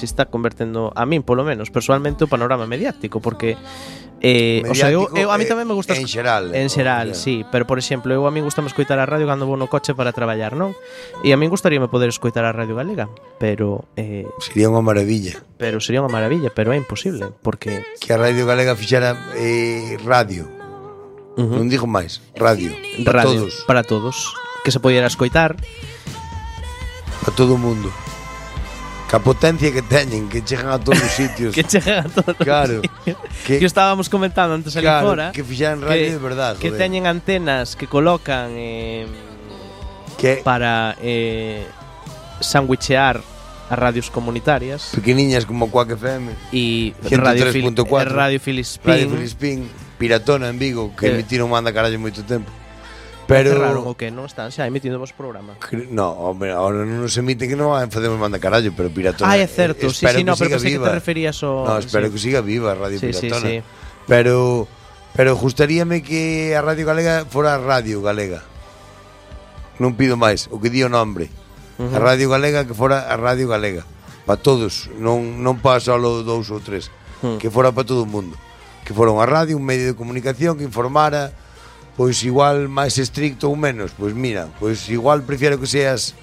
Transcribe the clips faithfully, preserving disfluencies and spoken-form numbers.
se está convertendo, a min polo menos, personalmente, o panorama mediático, porque eh, o sea, eu, eu, a mí tamén me gusta en xeral, en xeral, o, sí, pero por exemplo, eu a min gustame escoitar a radio cando vou no coche para traballar, non? E a min gustaríame poder escoitar a Radio Galega, pero eh, sería unha maravilla. Pero sería unha maravilla, pero é imposible, porque que a Radio Galega fixera eh, radio. Uh-huh. Non digo máis, radio, para radio, todos. Para todos, que se podiera escoitar para todo o mundo. Que a potencia que teñen, que chegan a todos os sitios. Que chegan a todos claro, os sitios. Que, que estábamos comentando antes ali claro, fora. Que fixaran radio que, de verdade. Que joder. Teñen antenas que colocan eh, que? para eh, sandwichear a radios comunitarias. Pequeniñas como Quack F M. E Radio, Fil- Radio Filispín. Radio Filispín. Piratona en Vigo, que eh. emitiron manda carallo moito tempo. Pero cerraron o que non están xa emitindo vos programa. No, hombre, ahora non nos emite que non facemos manda carallo, pero Piratona. Ah, é certo, eh, sí, sí, no, pero pensei que te referías ao No, espero sí. que siga viva a Radio sí, Piratona. Sí, sí. Pero pero gustaríame que a Radio Galega fora a Radio Galega. Non pido máis, o que di o nombre. Uh-huh. A Radio Galega que fora a Radio Galega. Para todos, non non para só dous ou tres, uh-huh. Que fora para todo o mundo. Que fora unha radio, un medio de comunicación que informara, pois igual máis estricto ou menos. Pois mira, pois igual prefiero que seas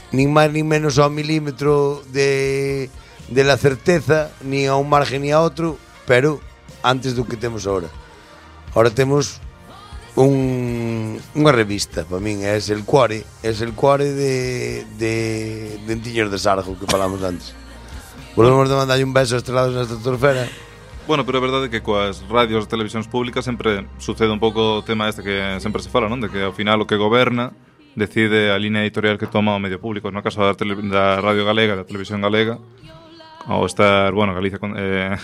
nin máis nin menos ao milímetro de, de la certeza, ni a un margen ni a outro, pero antes do que temos ahora. Ahora temos un, unha revista, para min, é el cuore, é el cuore de, de Dentiños de Sargo que falamos antes. Volvemos de mandarlle un beso estrelados na estratosfera. Bueno, pero é verdade que coas radios e televisións públicas sempre sucede un pouco o tema este que sempre se fala, non? De que ao final o que goberna decide a línea editorial que toma o medio público. No caso da, tele, da Radio Galega, da Televisión Galega, ao estar, bueno, Galicia eh,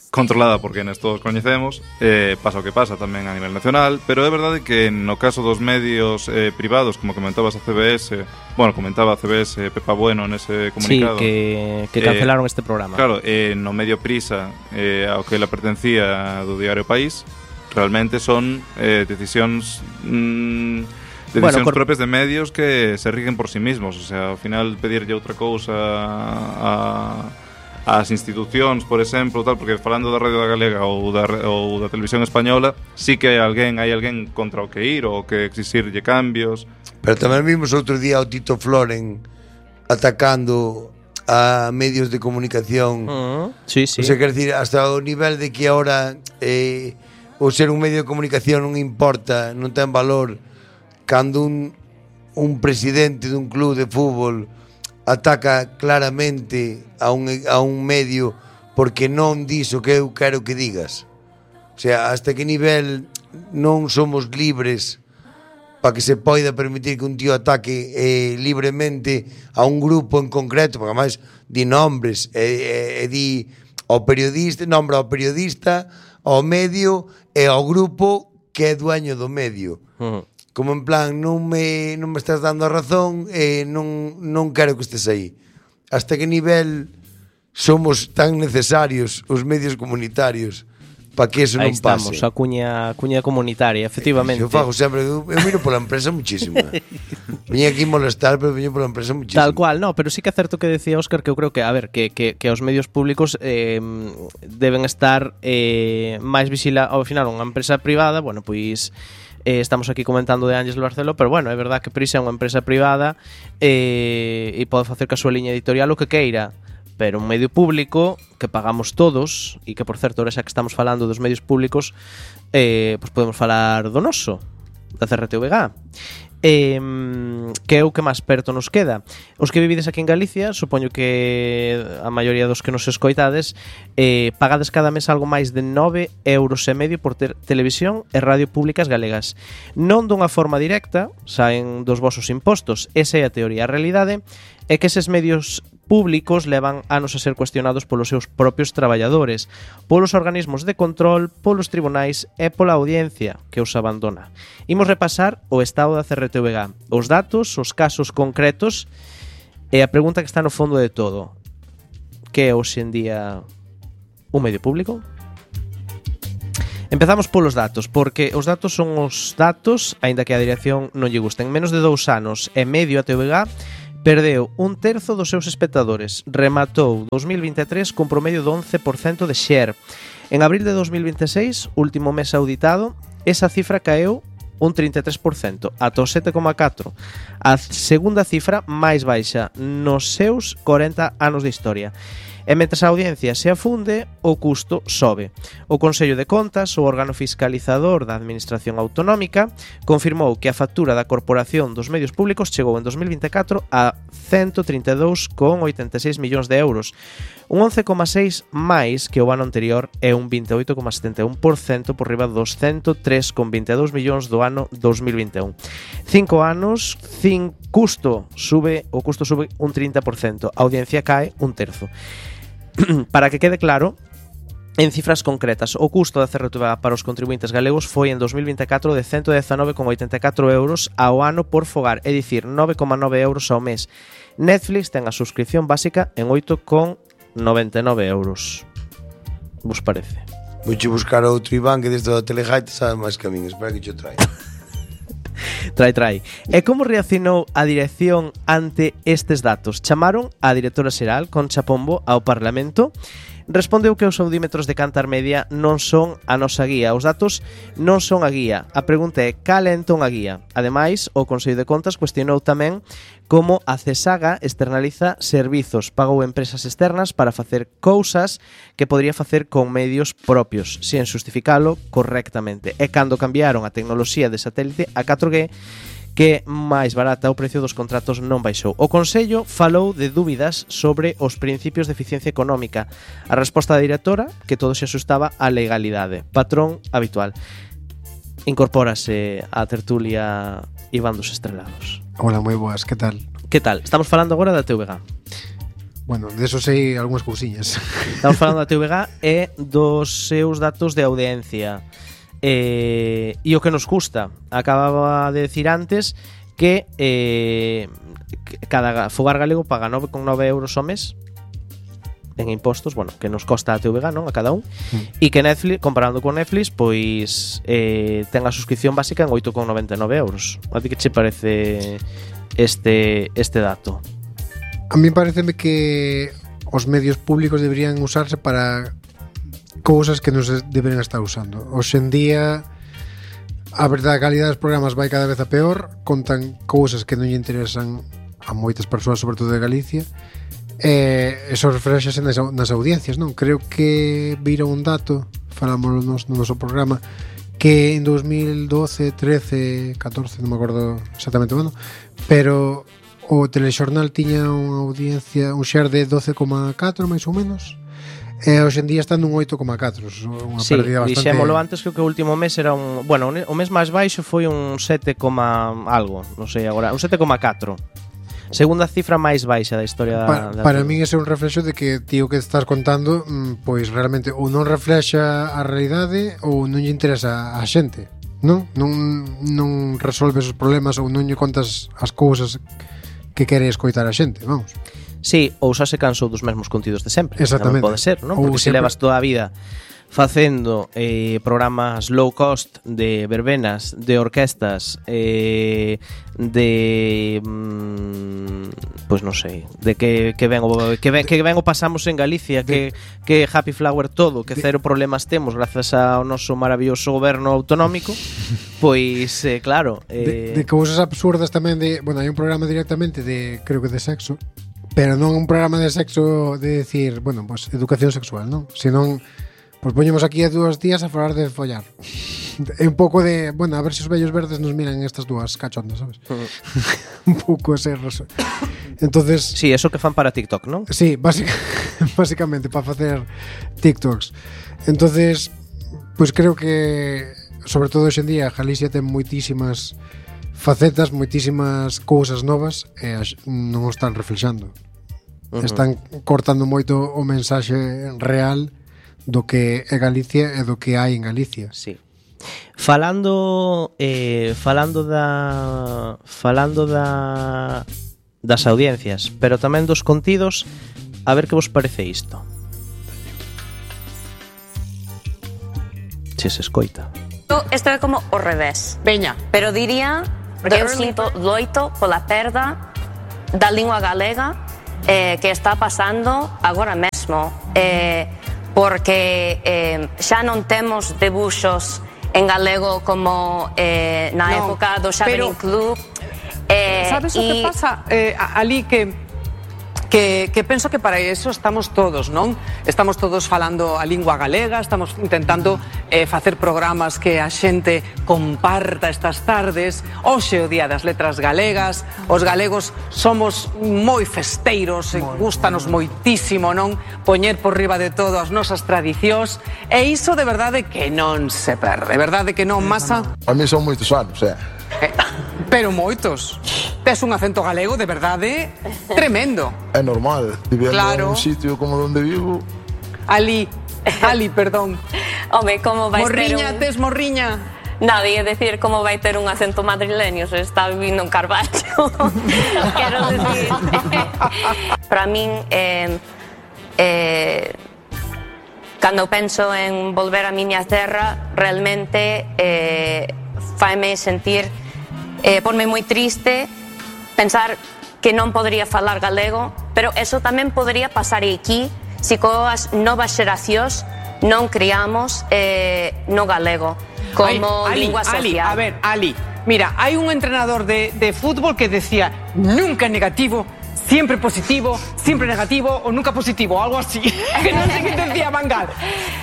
controlada por quenes todos coñecemos, eh, pasa o que pasa tamén a nivel nacional, pero é verdade que no caso dos medios eh, privados, como comentabas a C B S, bueno, comentaba a C B S Pepa Bueno nese comunicado. Sí, que, que cancelaron eh, este programa. Claro, eh, no medio Prisa, eh, ao que la pertencía do diario País, realmente son eh, decisións mmm, decisións bueno, cor... propias de medios que se rigen por sí mismos, o sea, ao final pedirlle outra cousa a as institucións, por exemplo, tal, porque falando da Radio da Galega ou da, ou da Televisión Española, sí que hai alguén, hai alguén contra o que ir ou que exixirlle cambios. Pero tamén vimos outro día o Tito Floren atacando a medios de comunicación. Uh-huh. Sí, sí. O sea, quer decir, hasta o nivel de que ahora eh, o ser un medio de comunicación non importa, non ten valor, cando un, un presidente dun club de fútbol ataca claramente a un, a un medio porque non dis o que eu quero que digas. O sea, hasta que nivel non somos libres para que se poida permitir que un tío ataque eh, libremente a un grupo en concreto, porque además di nombres e eh, eh, di ao periodista, nombra ao periodista, ao medio e ao grupo que é dueño do medio. Uh-huh. Como en plan, non me, non me estás dando a razón e eh, non, non quero que estés aí. Hasta que nivel somos tan necesarios os medios comunitarios para que eso aí non pase. Aí estamos, a cuña, a cuña comunitaria, efectivamente. Eu fago sempre, eu, eu miro pola empresa muchísimo. Viña aquí molestar, pero viño pola empresa muchísimo. Tal cual, no, pero sí que é certo que decía Óscar que eu creo que, a ver, que, que, que os medios públicos eh, deben estar eh, máis vigila, ao final, unha empresa privada, bueno, pois Eh, estamos aquí comentando de Ángeles Barceló, pero bueno, é verdad que Prisa é unha empresa privada eh, e pode facer ca súa liña editorial o que queira, pero un medio público que pagamos todos, e que por certo, ahora xa que estamos falando dos medios públicos, eh, pues podemos falar do noso, da C R T V G. Eh, que é o que máis perto nos queda. Os que vivides aquí en Galicia, supoño que a maioría dos que nos escoitades, eh, pagades cada mes algo máis de nove euros e medio por ter televisión e radio públicas galegas. Non dunha forma directa, saen dos vosos impostos, esa é a teoría. A realidade é que eses medios públicos levan anos a ser cuestionados polos seus propios traballadores, polos organismos de control, polos tribunais e pola audiencia que os abandona. Imos repasar o estado da C R T V G, os datos, os casos concretos e a pregunta que está no fondo de todo. Que é hoxe en día un medio público? Empezamos polos datos, porque os datos son os datos, aínda que a dirección non lle gusten. En menos de dous anos e medio a T V G perdeu un terzo dos seus espectadores, rematou dos mil vinte e tres con promedio do once por cento de share. En abril de dos mil vinte e seis, último mes auditado, esa cifra caeu un trinta e tres por cento, ata o sete coma catro por cento. A segunda cifra máis baixa nos seus corenta anos de historia. E mentres a audiencia se afunde, o custo sobe. O Consello de Contas, o órgano fiscalizador da Administración Autonómica, confirmou que a factura da Corporación dos Medios Públicos chegou en dos mil vinte e catro a ciento trinta e dous coma oitenta e seis millóns de euros, un once coma seis máis que o ano anterior e un vinte e oito coma setenta e un por cento por riba dos ciento tres coma vinte e dous millóns do ano dos mil vinte e un. Cinco anos, cin custo sube, o custo sube un trinta por cento, a audiencia cae un terzo. Para que quede claro, en cifras concretas, o custo da C R T V A para os contribuintes galegos foi en dos mil vinte e catro de ciento dezanove coma oitenta e catro euros ao ano por fogar, é dicir, nove coma nove euros ao mes. Netflix ten a suscripción básica en oito coma noventa e nove euros. Vos parece? Vouche buscar outro Iván que desde o Telejaite sabe máis que a min, espera que yo trae. Trai, trai. E como reaccionou a dirección ante estes datos? Chamaron a directora xeral, Concha Pombo, ao Parlamento. Respondeu que os audímetros de Cantar Media non son a nosa guía. Os datos non son a guía. A pregunta é, cal é entón a guía? Ademais, o Consello de Contas cuestionou tamén como a CESAGA externaliza servizos, pagou empresas externas para facer cousas que podría facer con medios propios, sen justificalo correctamente. E cando cambiaron a tecnoloxía de satélite a catro G, que máis barata o precio dos contratos non baixou. O Consello falou de dúbidas sobre os principios de eficiencia económica. A resposta da directora, que todo se asustaba á legalidade. Patrón habitual. Incorpórase á tertulia Iván dos Estrelados. Hola, moi boas, que tal? Que tal? Estamos falando agora da T V G. Bueno, de eso sei algunhas cousiñas. Estamos falando da T V G e dos seus datos de audiencia. Eh, e o que nos custa, acababa de decir antes que eh, cada fogar galego paga nove coma nove euros ao mes en impostos, bueno, que nos costa a T V G, non? A cada un, e mm. que Netflix, comparando con Netflix, pois eh, ten a suscripción básica en oito coma noventa e nove euros. A ti que che parece este, este dato? A mí pareceme que os medios públicos deberían usarse para cousas que non se deberían estar usando. Hoxe en día a verdade, a calidade dos programas vai cada vez a peor, contan cousas que non lle interesan a moitas persoas, sobre todo de Galicia, e eso reflexase nas, nas audiencias, non? Creo que vira un dato, falámoslo no, no noso programa, que en dos mil doce, trece, catorce, non me acordo exactamente o ano, pero o telexornal tiña unha audiencia, un share de doce coma catro máis ou menos. E hoxe en día están nun oito coma catro, unha sí, pérdida bastante... dixémolo antes, creo que o último mes era un... Bueno, o mes máis baixo foi un sete, algo, non sei agora, un sete coma catro. Segunda cifra máis baixa da historia pa, da... Para min ese é un reflexo de que tío que estás contando, pois realmente ou non reflexa a realidade ou non lle interesa a xente, non? Non, non resolves os problemas ou non lle contas as cousas que quere escoitar a xente, vamos. Sí, ou xa se cansou dos mesmos contidos de sempre. Exactamente. Non pode ser, non? Porque se levas toda a vida facendo eh, programas low cost de verbenas, de orquestas, eh, de mm, pois pues non sei, de que que ben o que ben, que ben o pasamos en Galicia, de, que que Happy Flower todo, que de, cero problemas temos grazas ao noso maravilloso goberno autonómico. Pois eh, claro, eh, de, de cousas absurdas tamén de, bueno, hai un programa directamente de, creo que de sexo, pero non un programa de sexo de decir, bueno, pues educación sexual, non? Senón, pues poñemos aquí a dúas días a falar de follar. É un pouco de, bueno, a ver se os vellos verdes nos miran estas dúas cachondas, sabes? Uh-huh. Un pouco ese reso. Entonces, sí, eso que fan para TikTok, non? Sí, básica, básicamente para facer TikToks. Entonces, pues creo que sobre todo hoxe en día Galicia ten moitísimas facetas, moitísimas cousas novas e non o están reflexando. Uh-huh. Están cortando moito o mensaxe real do que é Galicia e do que hai en Galicia. Sí. Falando eh, falando da falando da das audiencias, pero tamén dos contidos, a ver que vos parece isto. Se se escoita. Isto é como o revés. Veña. Pero diría que eu sinto loito pola perda da lingua galega eh, que está pasando agora mesmo, eh, porque eh, xa non temos debuxos en galego como eh, na no, época do Xaverín Club. Eh, sabes o que pasa, eh, ali que Que, que penso que para eso estamos todos, non? Estamos todos falando a lingua galega, estamos intentando eh, facer programas que a xente comparta estas tardes. Hoxe o Día das Letras Galegas, os galegos somos moi festeiros, moi, gustanos moitísimo, non? Poñer por riba de todo as nosas tradicións, e iso de verdade que non se perde, de verdade que non, Masa? A mí son moitos anos, eh? eh pero moitos. Tes un acento galego de verdade tremendo. É normal, vivendo claro. en un sitio como onde vivo. Ali, Ali, perdón. Home, como vai morriña, ter un... tes morriña. Nadie decir como vai ter un acento madrileño se está vivindo en Carballo. Quero decir. Para min, eh, eh, cando penso en volver a miña terra, realmente eh, faime sentir, eh, ponme moi triste pensar que non podría falar galego, pero eso tamén podría pasar aquí se coas novas xeracións non criamos eh, no galego como Ay, lingua Ali, social. Ali, a ver, Ali, mira, hai un entrenador de, de fútbol que decía nunca negativo, siempre positivo, siempre negativo o nunca positivo, algo así. Que non sei que decía Van Gaal.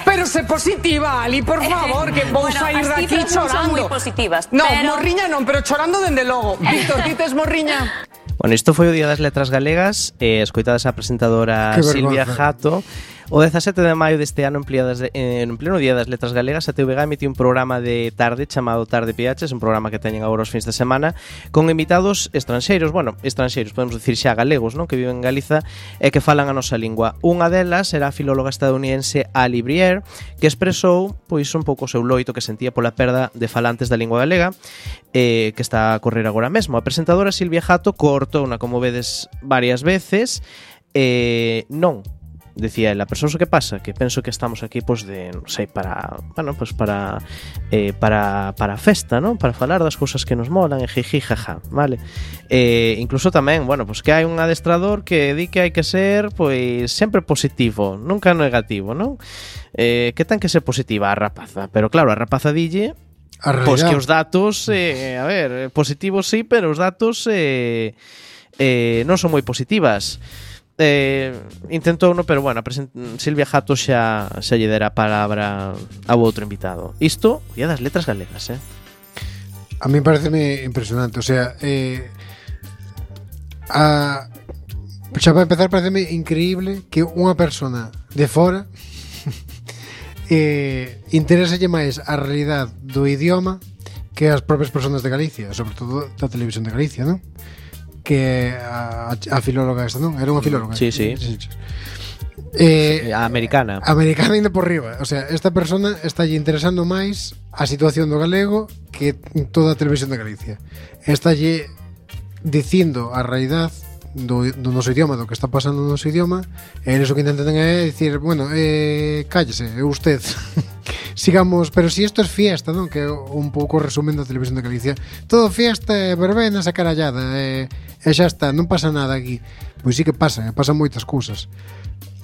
Pero se positiva, Ali, por favor, que vou bueno, sair daqui chorando. Non son moi positivas. No, pero... morriña non, pero chorando dende logo. Víctor, ti tes morriña? Bueno, isto foi o Día das Letras Galegas, eh, escoitadas a presentadora Silvia Jato. O dezasete de maio deste ano, de, eh, en pleno Día das Letras Galegas, a T V G emitiu un programa de tarde chamado Tarde P H, un programa que teñen agora os fins de semana, con invitados estranxeiros, bueno, estranxeiros, podemos dicir xa galegos, non? Que viven en Galiza e que falan a nosa lingua. Unha delas era a filóloga estadounidense Ali Briere, que expresou pois un pouco o seu loito que sentía pola perda de falantes da lingua galega, eh, que está a correr agora mesmo. A presentadora Silvia Jato cortouna, como vedes, varias veces, eh, non decía ela, pero sabes o que pasa? Que penso que estamos aquí pois de, non sei, para, bueno, pois para eh, para para a festa, non? Para falar das cousas que nos molan, e jiji jaja, vale? Eh, incluso tamén, bueno, pois que hai un adestrador que di que hai que ser pois sempre positivo, nunca negativo, non? Eh, que ten que ser positiva a rapaza, pero claro, a rapaza dille pois que os datos, eh, a ver, positivos sí, pero os datos eh, eh, non son moi positivas. Eh, intentou no, pero bueno, Silvia Jato xa xa lle dera a palabra ao outro invitado. Isto, Día das Letras Galegas, eh? A mí pareceme impresionante, o sea, eh, a, xa para empezar pareceme increíble que unha persona de fora eh, interéselle máis a realidade do idioma que as propias personas de Galicia, sobre todo da televisión de Galicia, non? Que a, a filóloga esta, non? Era unha filóloga. Sí, sí. Eh, a americana. Americana ainda por riba. O sea, esta persona está lle interesando máis a situación do galego que toda a televisión de Galicia. Está lle dicindo a realidade do, do noso idioma, do que está pasando no noso idioma, e eles o que intentan é dicir, bueno, eh, cállese, é usted. Sigamos, pero si isto es fiesta, non? Que é un pouco resumen da televisión de Galicia. Todo fiesta, verbenas e carallada, e, e xa está, non pasa nada aquí. Pois sí que pasa, pasan moitas cousas.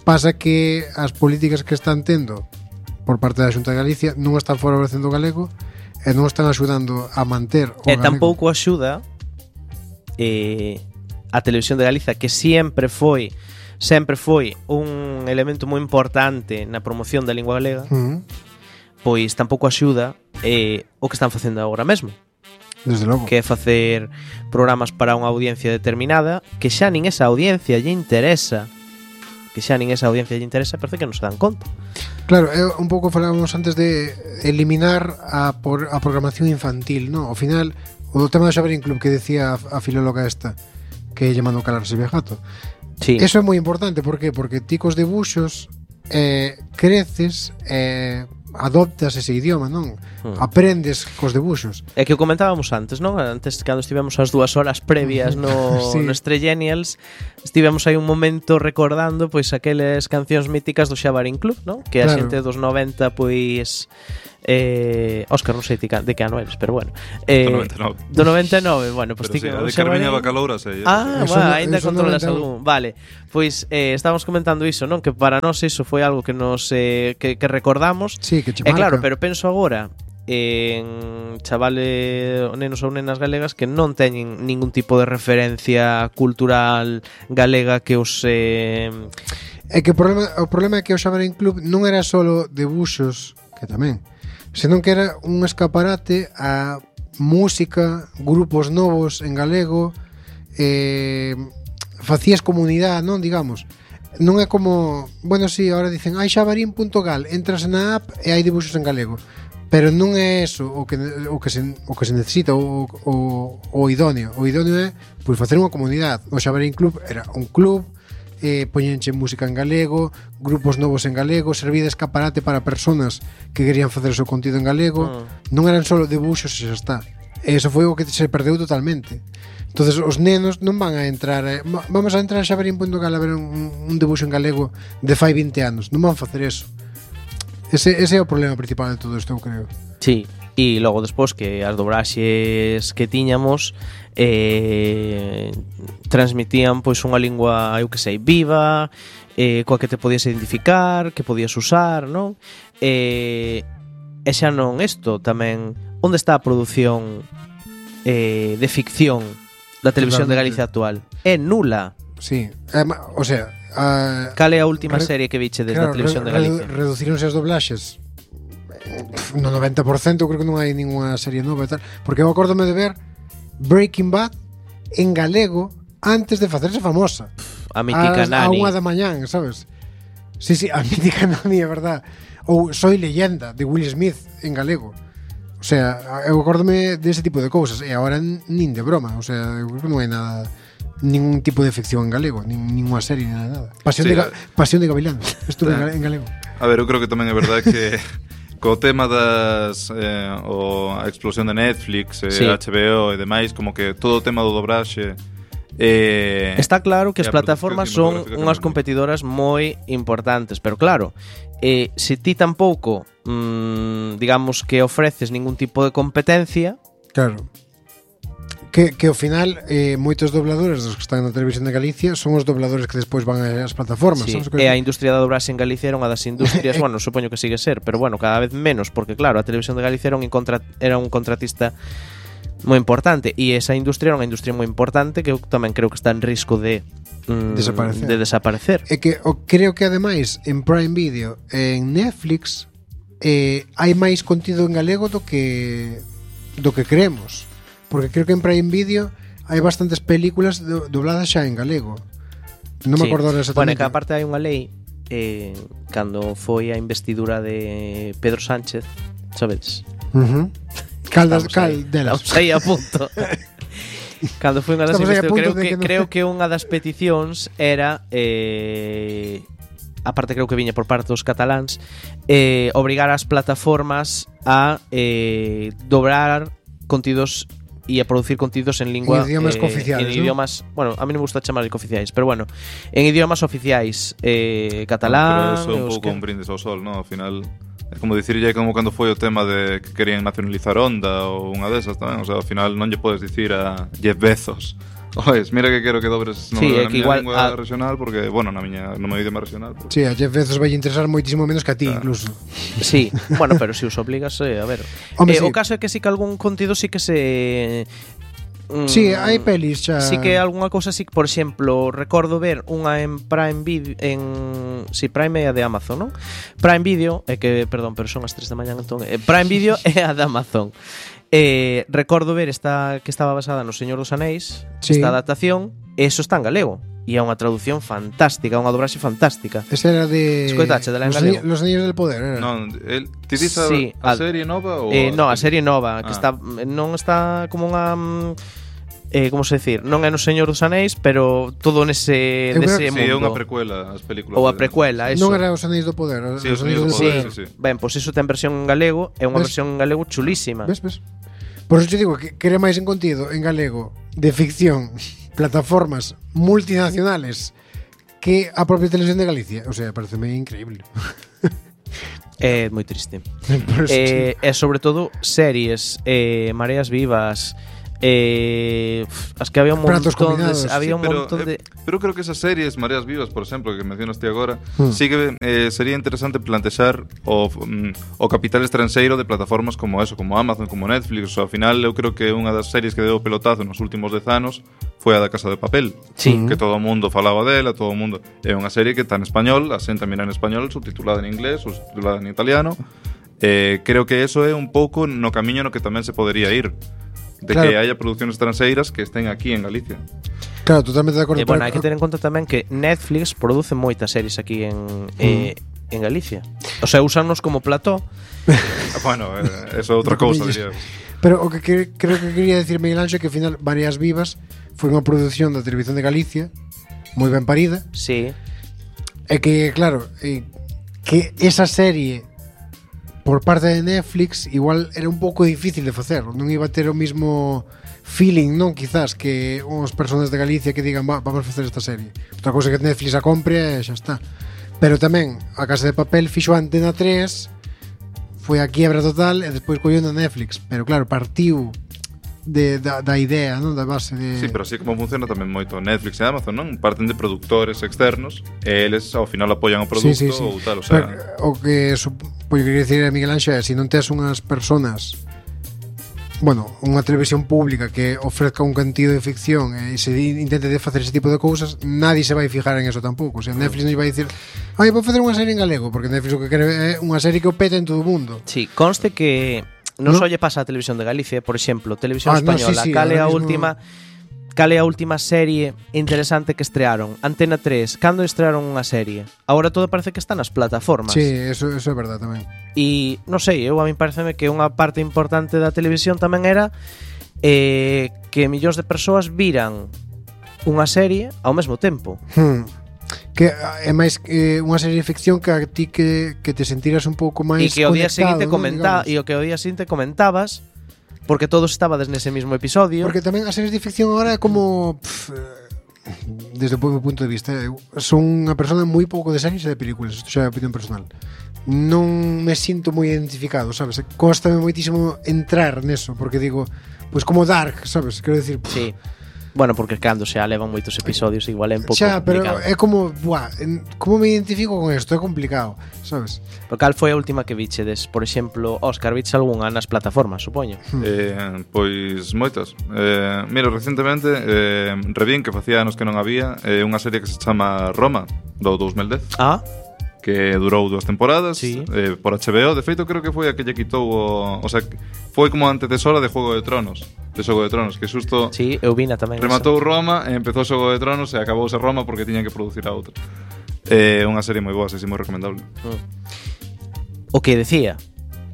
Pasa que as políticas que están tendo por parte da Xunta de Galicia non están favorecendo o galego e non están axudando a manter o e galego. E tampouco axuda eh, a televisión de Galiza, que sempre foi sempre foi un elemento moi importante na promoción da lingua galega. Uh-huh. Pois tampouco axuda eh, o que están facendo agora mesmo. Desde logo. Que é facer programas para unha audiencia determinada, que xa nin esa audiencia lle interesa, que xa nin esa audiencia lle interesa, parece que non se dan conta. Claro, é un pouco falábamos antes de eliminar a, por, a programación infantil, ¿no? Ao final, o do tema do Xaverín Club que decía a, a filóloga esta, que lle mandou calar Silvia Jato. Sí. Eso é moi importante, por qué? Porque ti cos debuxos eh, creces, eh, adoptas ese idioma, non? Hmm. Aprendes cos debuxos. É que o comentábamos antes, non? Antes, cando estivemos as dúas horas previas no, sí. no Estrellenials, estivemos aí un momento recordando pois aqueles cancións míticas do Xaverín Club, non? Que a claro. xente dos noventa pois Eh, Óscar, non sei ti ca- de que ano eres, pero bueno. Eh, Do noventa e nove. Do noventa e nove, bueno, pues Pero ti sí, que a de xa Carmiña vai- Bacaloura sei. Ah, Eso bueno, no- ainda eso controlas noventa e un. algún. Vale, pois eh, estábamos comentando iso, non? Que para nós iso foi algo que nos eh, que, que recordamos. Sí, que che E claro, marca. pero penso agora en chavales, nenos ou nenas galegas que non teñen ningún tipo de referencia cultural galega que os eh, É que o problema, o problema é que o Xabarín Club non era solo debuxos, que tamén, senón que era un escaparate a música, grupos novos en galego, eh, facías comunidade, non, digamos. Non é como, bueno, si, sí, ahora dicen, hai xabarín punto gal, entras na app e hai debuxos en galego. Pero non é eso o que, o que, se, o que se necesita, o, o, o idóneo. O idóneo é pois, facer unha comunidade. O Xabarín Club era un club, eh, poñenche música en galego, grupos novos en galego, servía de escaparate para personas que querían facer o seu contido en galego. Mm. Non eran só debuxos e xa está. E eso foi o que se perdeu totalmente. Entonces os nenos non van a entrar eh, vamos a entrar a xabarín punto gal a ver un, un debuxo en galego de fai vinte anos. Non van facer eso. Ese, ese é o problema principal de todo isto, eu creo. Sí, e logo despois que as dobraxes que tiñamos eh, transmitían pois unha lingua, eu que sei, viva, eh, coa que te podías identificar, que podías usar, non? Eh, e xa non isto, tamén onde está a produción eh, de ficción da televisión de Galicia actual? É nula. Sí, eh, o sea, a, cal é a última re, serie que viche desde claro, a televisión re, de Galicia? Reducironse as doblaxes no noventa por cento, eu creo que non hai ninguna serie nova e tal, porque eu acórdome de ver Breaking Bad en galego antes de facerse famosa. A mítica a, Nani. A unha da mañán, sabes? Sí, sí, a mítica Nani, é verdad. Ou Soy Leyenda, de Will Smith, en galego. O sea, eu acórdome dese tipo de cousas. E agora nin de broma. O sea, eu creo que non hai nada, ningún tipo de ficción en galego, nin, ninguna serie, nada, nada. Pasión, Sí, de, Pasión de Gavilán. Estuve tá. en galego. A ver, eu creo que tamén é verdade que co tema das eh, o a explosión de Netflix, eh, Sí. H B O e demais, como que todo o tema do dobraxe eh, Está claro que e as a plataformas produción son cinematográfica unhas tamén. competidoras moi importantes, pero claro, eh, se ti tampouco mmm, digamos que ofreces ningún tipo de competencia, Claro. Que, que ao final eh, moitos dobladores dos que están na televisión de Galicia son os dobladores que despois van ás plataformas. sí, sabes o que e a digo? industria da dobraxe en Galicia era unha das industrias, bueno, supoño que sigue ser, pero bueno, cada vez menos, porque claro, a televisión de Galicia era un, contra, era un contratista moi importante, e esa industria era unha industria moi importante que eu tamén creo que está en risco de mm, Desaparecer. de desaparecer. É que o, creo que ademais en Prime Video e en Netflix eh, hai máis contido en galego do que do que creemos, porque creo que en Prime Video hai bastantes películas do, dobladas xa en galego. Non me Sí. acordo Bueno, exactamente. é que aparte hai unha lei eh, cando foi a investidura de Pedro Sánchez, sabedes? uh-huh. Cal, das, Estamos cal aí, delas. estamos aí a punto. Cando foi unha das Estamos aí a investiduras, punto creo de que, que non- creo que unha das peticións era eh, aparte creo que viña por parte dos cataláns, eh, obrigar as plataformas a eh, dobrar contidos e a producir contidos en lingua En idiomas eh, cooficiales, en ¿no? idiomas, bueno, a mí non me gusta chamar de cooficiais, pero bueno, en idiomas oficiais, eh, catalán, Pero eso é un pouco un brindis ao sol, ¿no? Ao final é como dicirlle como cando foi o tema de que querían nacionalizar Honda ou unha desas tamén, o sea, ao final non lle podes dicir a Jeff Bezos oes, mira que quero que dobres no, Sí, na é que miña igual lingua a- regional porque, bueno, na miña no meu idioma regional porque... Sí, a Jeff Bezos vai interesar moitísimo menos que a ti, Claro. incluso. Sí, bueno, pero se os obligas, eh, a ver. Home, eh, sí. O caso é que sí que algún contido sí que se mm, Sí, hai pelis xa. Sí que algunha cousa sí, por exemplo, recordo ver unha en Prime Video en si sí, Prime é a de Amazon, non? Prime Video, é que, perdón, pero son as tres da mañá entón, eh, Prime Video é a de Amazon. Eh, recordo ver esta que estaba basada no Señor dos Anéis, Sí. esta adaptación, e eso está en galego. E é unha traducción fantástica, unha dobraxe fantástica. Esa era de Escoitache, de la en Los, galego. Ani- Los Anillos del Poder, era. Non, el, ti dis a, Sí, a al- serie nova ou Eh, no, a serie nova, que Ah. está non está como unha mm, eh, como se decir, non é no Señor dos Anéis, pero todo nese Eu creo nese Sí, mundo. é unha precuela as películas Ou a de- precuela, eso. Non era Os Anillos do Poder, era Sí, Los Os Anillos do del Poder, Poder. sí, sí. Ben, pois iso ten versión en galego, é unha Ves? versión en galego chulísima. Ves, ves? Por eso te digo que quere máis en contido en galego de ficción, plataformas multinacionales que a propia televisión de Galicia. O sea, pareceme increíble. É moi triste. eh, e sobre todo series, eh, Mareas Vivas, eh, as que había un montón de, había sí, un pero, montón eh, de pero creo que esas series Mareas Vivas, por exemplo, que mencionaste agora, hmm. sí que eh, sería interesante plantexar o, um, o capital estranxeiro de plataformas como eso, como Amazon, como Netflix. O sea, ao final eu creo que unha das series que deu pelotazo nos últimos dez anos foi a da Casa de Papel, sí. que todo o mundo falaba dela, todo o mundo. É unha serie que está en español, asenta mira en español, subtitulada en inglés, subtitulada en italiano. Eh, creo que eso é un pouco no camiño no que tamén se podería ir, de claro, que haya producciones extranxeiras que estén aquí en Galicia. Claro, totalmente de acordo. E, bueno, hai que ter en conta tamén que Netflix produce moitas series aquí en, mm. eh, en Galicia. O sea, usanos como plató. Bueno, eh, eso é outra cousa, diría. Pero o que, que creo que quería decir Miguel Anxo é que ao final Mareas Vivas foi unha produción da Televisión de Galicia moi ben parida. Sí. E que, claro, eh, que esa serie por parte de Netflix igual era un pouco difícil de facer, non iba a ter o mismo feeling, non, quizás, que uns personas de Galicia que digan, va, vamos a facer esta serie. Outra cousa que Netflix a compre e xa está. Pero tamén a Casa de Papel fixo a Antena tres, foi a quiebra total e despois colleu na Netflix, pero claro, partiu de, da, da idea, non, da base de... Sí, pero así como funciona tamén moito Netflix e Amazon, non? Parten de productores externos e eles ao final apoian o produto, sí, sí, sí, ou tal, o sea... Pero, o que supoño que quería decir a Miguel Anxo é, se non tes unhas personas, bueno, unha televisión pública que ofrezca un cantido de ficción e se intente de facer ese tipo de cousas, nadie se vai fijar en eso tampouco. O sea, Netflix non vai dicir, ai, vou facer unha serie en galego, porque Netflix o que quere é unha serie que o pete en todo o mundo. Sí, conste que non ¿no? só lle pasa a Televisión de Galicia, por exemplo, Televisión ah, Española, no, sí, sí, cal é a mismo... última cal é a última serie interesante que estrearon? Antena tres, cando estrearon unha serie? Agora todo parece que está nas plataformas. Sí, eso, eso é verdade tamén. E non sei, eu a mí pareceme que unha parte importante da televisión tamén era eh, que millóns de persoas viran unha serie ao mesmo tempo. Hmm. Que é máis eh, unha serie de ficción que a ti que, que te sentiras un pouco máis e que o día seguinte ¿no? comenta, e o que o día seguinte comentabas porque todos estabades nese mismo episodio. Porque tamén as series de ficción agora é como pff, desde o meu punto de vista, eu son unha persona moi pouco de series e de películas, isto xa é opinión personal. Non me sinto moi identificado, sabes? Cóstame moitísimo entrar neso, porque digo, pois pues como Dark, sabes? Quero decir, pff, sí. Bueno, porque cando se alevan moitos episodios igual é un pouco xa, pero complicado. É como, buah, como me identifico con isto? É complicado, sabes? Pero cal foi a última que vichedes? Por exemplo, Óscar, viches algunha nas plataformas, supoño? Eh, pois moitas. Eh, mira, recentemente eh, revín que facía anos que non había eh, unha serie que se chama Roma, do dos mil dez. Ah, que durou dúas temporadas, sí. eh, por H B O. De feito, creo que foi a que lle quitou o... O sea, foi como antecesora de Juego de Tronos. De Xogo de Tronos, que xusto... Sí, eu vina tamén. Rematou esa. Roma, e empezou Xogo de Tronos e acabouse Roma porque tiñan que producir a outra. É eh, unha serie moi boa, sei, moi recomendable. Mm. O que decía,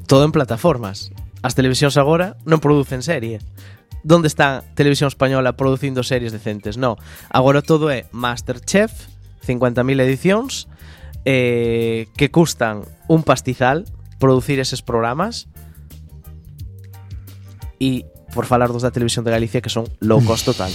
todo en plataformas. As televisións agora non producen serie. Donde está Televisión Española producindo series decentes? No, agora todo é Masterchef, cincuenta mil edicións, eh, que custan un pastizal producir eses programas, e por falar dos da Televisión de Galicia que son low cost total.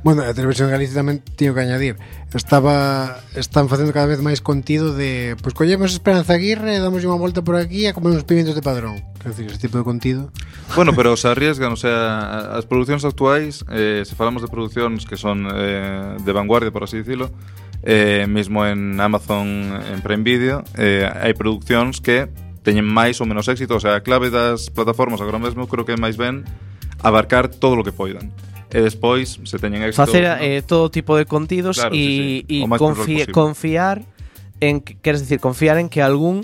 Bueno, a Televisión de Galicia tamén teño que añadir, estaba están facendo cada vez máis contido de, pois pues, collemos Esperanza Aguirre e damos unha volta por aquí a comer uns pimientos de Padrón. Quero dicir, ese tipo de contido. Bueno, pero se arriesgan, o sea, as producións actuais, eh, se falamos de producións que son eh, de vanguardia, por así dicilo, eh, mesmo en Amazon, en Prime Video, eh, hai producións que teñen máis ou menos éxito. O sea, a clave das plataformas agora mesmo creo que é máis ben abarcar todo o que poidan. E despois, se teñen éxito, facer ¿no? eh, todo tipo de contidos claro, e sí, sí. confi confiar en que, queres decir, confiar en que algún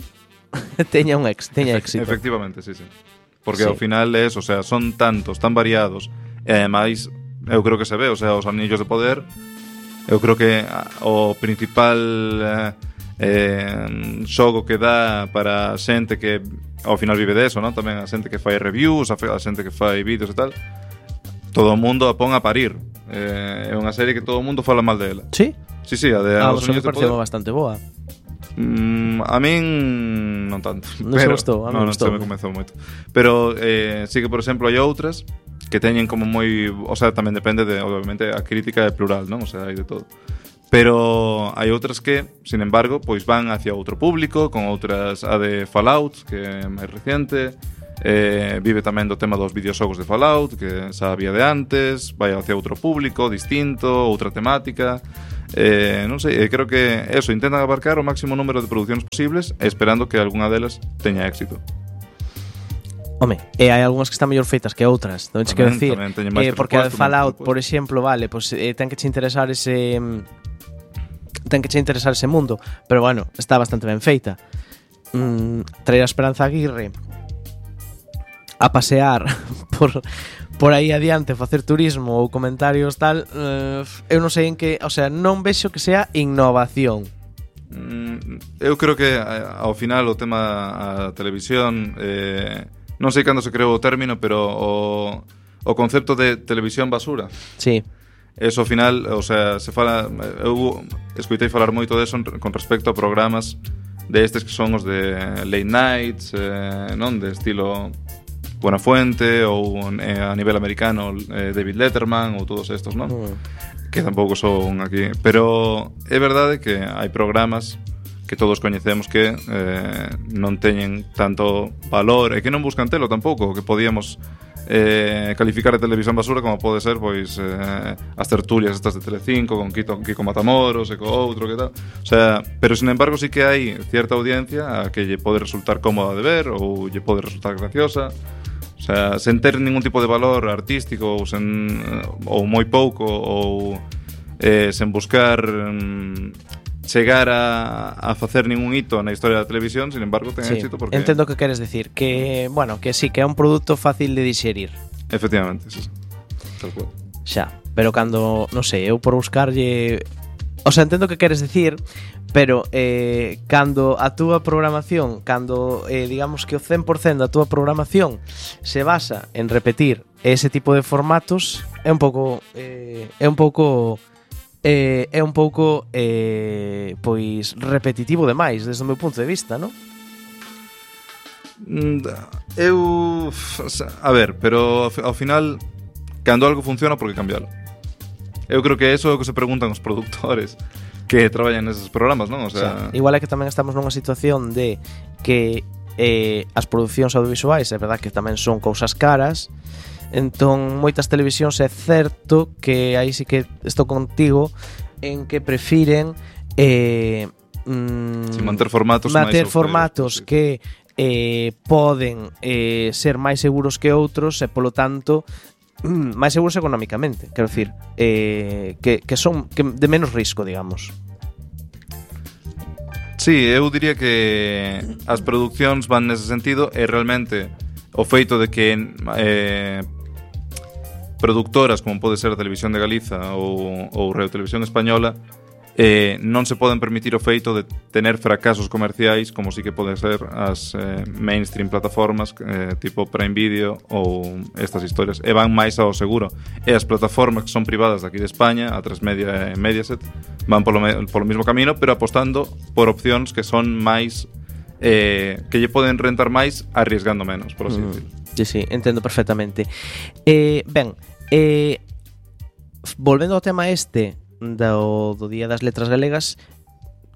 teña un ex, teña éxito. Efectivamente, sí, sí. Porque sí. ao final é eso, o sea, son tantos, tan variados, e ademais eu creo que se ve, o sea, os anillos de poder, eu creo que o principal eh, eh, xogo que dá para a xente que ao final vive deso, non? Tamén a xente que fai reviews, a xente que fai vídeos e tal, todo o mundo a pon a parir. Eh, é unha serie que todo o mundo fala mal dela. Sí? Sí, sí, a de ah, Os Anillos de Poder. Ah, bastante boa. Mm, a min non tanto. Non se gustou, a non, non non se me comezou moito. Pero eh, sí que, por exemplo, hai outras que teñen como moi... O sea, tamén depende de, obviamente, a crítica é plural, non? O sea, hai de todo. Pero hai outras que, sin embargo, pois van hacia outro público, con outras, a de Fallout, que é máis reciente, eh, vive tamén do tema dos videoxogos de Fallout, que xa había de antes, vai hacia outro público, distinto, outra temática, eh, non sei, eh, creo que eso, intentan abarcar o máximo número de producións posibles, esperando que algunha delas teña éxito. Home, e hai algunhas que están mellor feitas que outras, non che quero decir, eh, porque a de Fallout, por exemplo, vale, pues, eh, ten que che interesar ese ten que che interesar ese mundo, pero bueno, está bastante ben feita. Mm, traer a Esperanza Aguirre a pasear por por aí adiante, facer turismo ou comentarios tal, eh, eu non sei en que, o sea, non vexo que sea innovación. Mm, eu creo que ao final o tema a televisión, eh, non sei cando se creou o término, pero o, o concepto de televisión basura. Sí. Eso ao final, o sea, se fala, eu escoitei falar moito deso con respecto a programas de estes que son os de late nights, eh, non, de estilo Buenafuente ou eh, a nivel americano eh, David Letterman ou todos estos, non? Mm. Que tampouco son aquí, pero é verdade que hai programas que todos coñecemos que eh, non teñen tanto valor e que non buscan telo tampouco, que podíamos eh, calificar a televisión basura como pode ser pois eh, as tertulias estas de Telecinco con Kiko, Kiko Matamoros e co outro que tal, o sea, pero sin embargo sí que hai cierta audiencia a que lle pode resultar cómoda de ver ou lle pode resultar graciosa. O sea, sen ter ningún tipo de valor artístico ou, sen, ou moi pouco ou eh, sen buscar mm, chegar a, a facer ningún hito na historia da televisión, sin embargo ten sí, éxito porque... Entendo o que queres decir, que, bueno, que sí, que é un produto fácil de digerir. Efectivamente, sí, tal cual. Xa, pero cando, non sei, eu por buscarlle... O sea, entendo o que queres decir, pero eh, cando a túa programación, cando eh, digamos que o cen por cento da túa programación se basa en repetir ese tipo de formatos, é un pouco eh, é un pouco eh, é un pouco eh, pois repetitivo demais desde o meu punto de vista, non? Eu, a ver, pero ao final cando algo funciona, por que cambialo? Eu creo que eso é o que se preguntan os produtores que traballan neses programas, non? O sea, sí. Igual é que tamén estamos nunha situación de que eh, as producións audiovisuais é verdad que tamén son cousas caras, entón moitas televisións é certo que aí sí que estou contigo en que prefiren eh, mm, sí, manter formatos manter máis formatos sí. que eh, poden eh, ser máis seguros que outros e polo tanto máis seguros económicamente, quero dicir, eh, que, que son que de menos risco, digamos. Sí, eu diría que as producións van nese sentido e realmente o feito de que eh, productoras como pode ser a Televisión de Galiza ou, ou Radio Televisión Española eh, non se poden permitir o feito de tener fracasos comerciais como si que poden ser as eh, mainstream plataformas eh, tipo Prime Video ou estas historias, e van máis ao seguro, e as plataformas que son privadas daqui de España, a tres Media e Mediaset, van polo, polo mismo camino, pero apostando por opcións que son máis eh, que lle poden rentar máis arriesgando menos, por así mm. decirlo. Sí, sí, entendo perfectamente. eh, Ben, eh, volvendo ao tema este Do, do Día das Letras Galegas,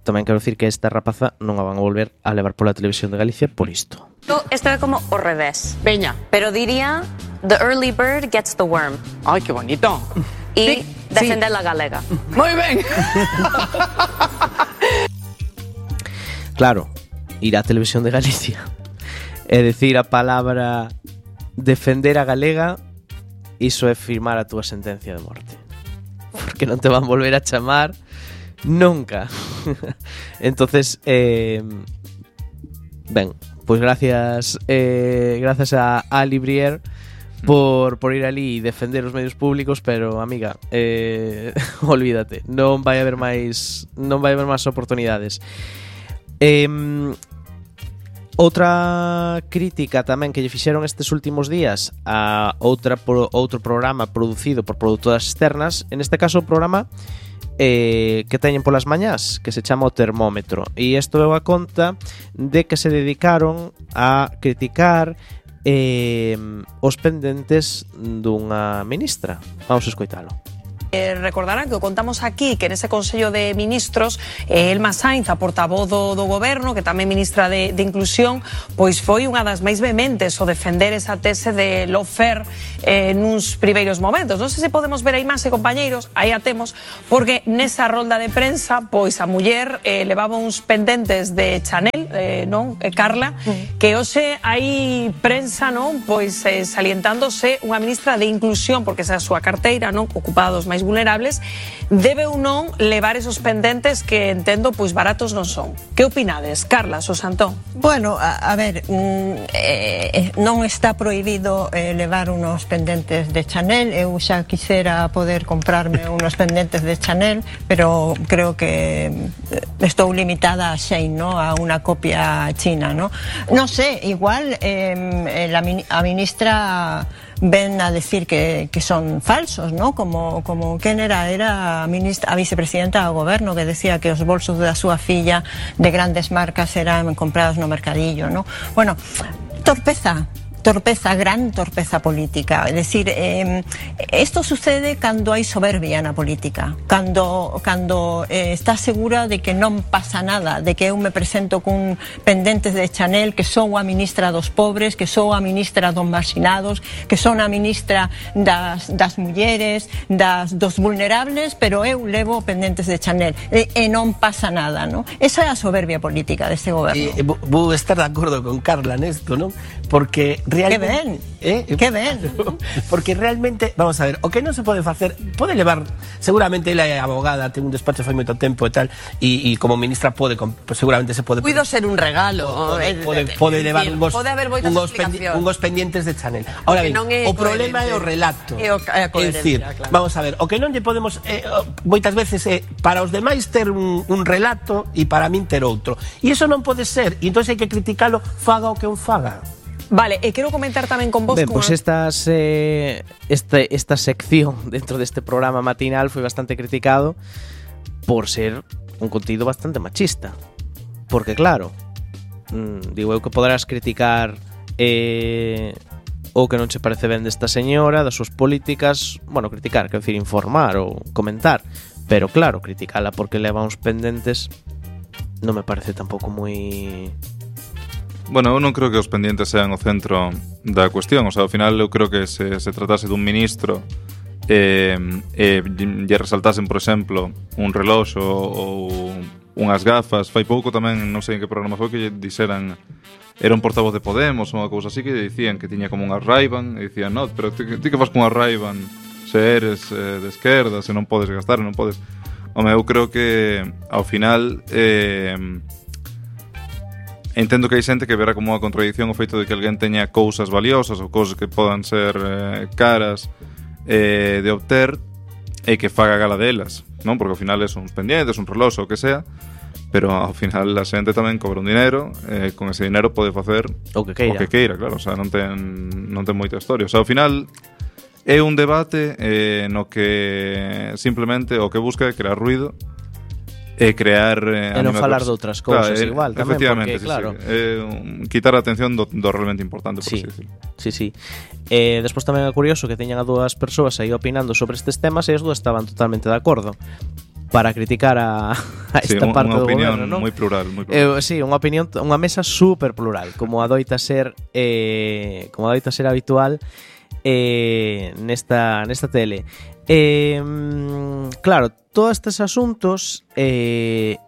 tamén quero dicir que esta rapaza non a van a volver a levar pola Televisión de Galicia por isto. Isto é como o revés. Veña. Pero diría, the early bird gets the worm. Ai, que bonito. E sí, defender sí. a galega. Moi ben. Claro, ir á Televisión de Galicia e decir a palabra defender a galega, iso é firmar a túa sentencia de morte. Porque non te van volver a chamar nunca. Entonces eh, ben, pois gracias eh, gracias a Ali Brier por, por ir ali e defender os medios públicos, pero amiga, eh, olvídate, non vai haber máis non vai haber máis oportunidades. eh, Outra crítica tamén que lle fixeron estes últimos días a outra pro, outro programa producido por produtoras externas, en este caso o programa eh, que teñen polas mañás, que se chama O Termómetro, e isto é a conta de que se dedicaron a criticar eh, os pendentes dunha ministra. Vamos a escoitalo. Eh, recordarán que o contamos aquí que nese Consello de Ministros eh, Elma Sainz, a portavoz do, do goberno, que tamén ministra de, de Inclusión, pois foi unha das máis vehementes o defender esa tese de lawfare eh, nuns primeiros momentos. Non sei se podemos ver a imaxe, compañeiros, aí a temos, porque nesa rolda de prensa, pois a muller eh, levaba uns pendentes de Chanel, eh, non, eh, Carla, que hoxe hai prensa, non, pois eh, salientándose unha ministra de Inclusión, porque esa é a súa carteira, non, ocupada dos máis vulnerables, debe ou non levar esos pendentes que entendo pois baratos non son. Que opinades, Carla, Sosantón? Bueno, a, a ver, mm, eh, non está prohibido eh, levar unos pendentes de Chanel. Eu xa quixera poder comprarme unos pendentes de Chanel, pero creo que estou limitada a Shein, ¿no? A unha copia china, ¿no? Non sé, igual eh, la, a ministra ven a decir que, que son falsos, ¿no? Como, como quen era, era a, ministra, a vicepresidenta do goberno que decía que os bolsos da súa filla de grandes marcas eran comprados no mercadillo, ¿no? Bueno, torpeza. Torpeza, gran torpeza política. Es decir, eh, esto sucede cando hai soberbia na política, cando, cando eh, está segura de que non pasa nada, de que eu me presento cun pendentes de Chanel, que sou a ministra dos pobres, que sou a ministra dos marxinados, que son a ministra das, das mulleres, das, dos vulnerables, pero eu levo pendentes de Chanel e, e non pasa nada, ¿no? Esa é a soberbia política deste goberno. Eh, vou estar de acordo con Carla nesto, non? Porque realmente... Que ben, eh? que ben. Porque realmente, vamos a ver, o que non se pode facer, pode levar, seguramente ela é abogada, ten un despacho fai moito tempo e tal, e, e como ministra pode, pues, seguramente se pode... Cuido ser un regalo. Pode, pode, pode levar unhos, pode haber moitas unhos, pendi, unhos pendientes de Chanel. Ahora ben, o problema é o relato. É, o, é a é dicir, claro. Vamos a ver, o que non lle podemos, eh, moitas veces é, para os demais ter un, un relato e para min ter outro. E iso non pode ser, e entón hai que criticalo, faga o que un faga. Vale, e quero comentar tamén con vos... Ben, pois pues estas, eh, este, esta sección dentro deste programa matinal foi bastante criticado por ser un contido bastante machista. Porque claro, mm, digo eu que poderás criticar eh, o que non che parece ben desta señora, das súas políticas, bueno, criticar, quero dicir, informar ou comentar, pero claro, criticala porque leva uns pendentes non me parece tampouco moi... Bueno, eu non creo que os pendientes sean o centro da cuestión. O sea, ao final eu creo que se, se tratase dun ministro e eh, eh, lle resaltasen, por exemplo, un reloxo ou unhas gafas. Fai pouco tamén, non sei en que programa foi, que lle dixeran, era un portavoz de Podemos ou unha cousa así, que lle dicían que tiña como unha Ray-Ban e dicían, no, pero ti, ti que fas con unha Ray-Ban se eres eh, de esquerda, se non podes gastar, non podes... Home, eu creo que ao final... Eh, entendo que hai xente que verá como unha contradición o feito de que alguén teña cousas valiosas ou cousas que podan ser eh, caras eh, de obter e que faga gala delas, non? Porque ao final son uns pendientes, un reloxo, o que sea, pero ao final a xente tamén cobra un dinero e eh, con ese dinero pode facer o que queira, o que queira, claro, o sea, non ten, non ten moita historia. O sea, ao final é un debate eh, no que simplemente o que busca é crear ruido e crear eh, e non falar de outras cousas, claro, igual tamén, porque sí, claro, sí, eh, quitar a atención do, do realmente importante, por sí, así decirlo. Sí, sí. Eh, despois tamén é curioso que teñan a dúas persoas aí opinando sobre estes temas e as dúas estaban totalmente de acordo para criticar a, a esta sí, parte do goberno, non? non? Moi plural, moi plural. Eh, sí, unha opinión, unha mesa super plural, como adoita ser eh, como adoita ser habitual eh, nesta nesta tele. Eh, claro, todos estes asuntos eh,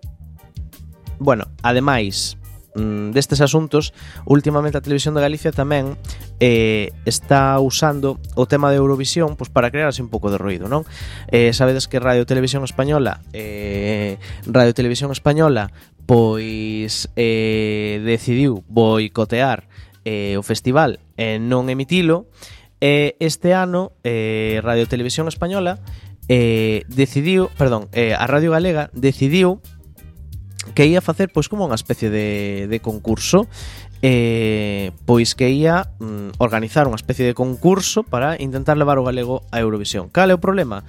bueno, ademais destes asuntos, últimamente a Televisión de Galicia tamén eh, está usando o tema de Eurovisión pues, para crear así un pouco de ruido, non? Eh, sabedes que Radio Televisión Española eh, Radio Televisión Española pois eh, decidiu boicotear eh, o festival e non emitilo. Eh, este ano eh, Radio Televisión Española eh, decidiu, perdón, eh, a Radio Galega decidiu que ia facer pois como unha especie de, de concurso, eh, pois que ia mm, organizar unha especie de concurso para intentar levar o galego a Eurovisión. Cal é o problema?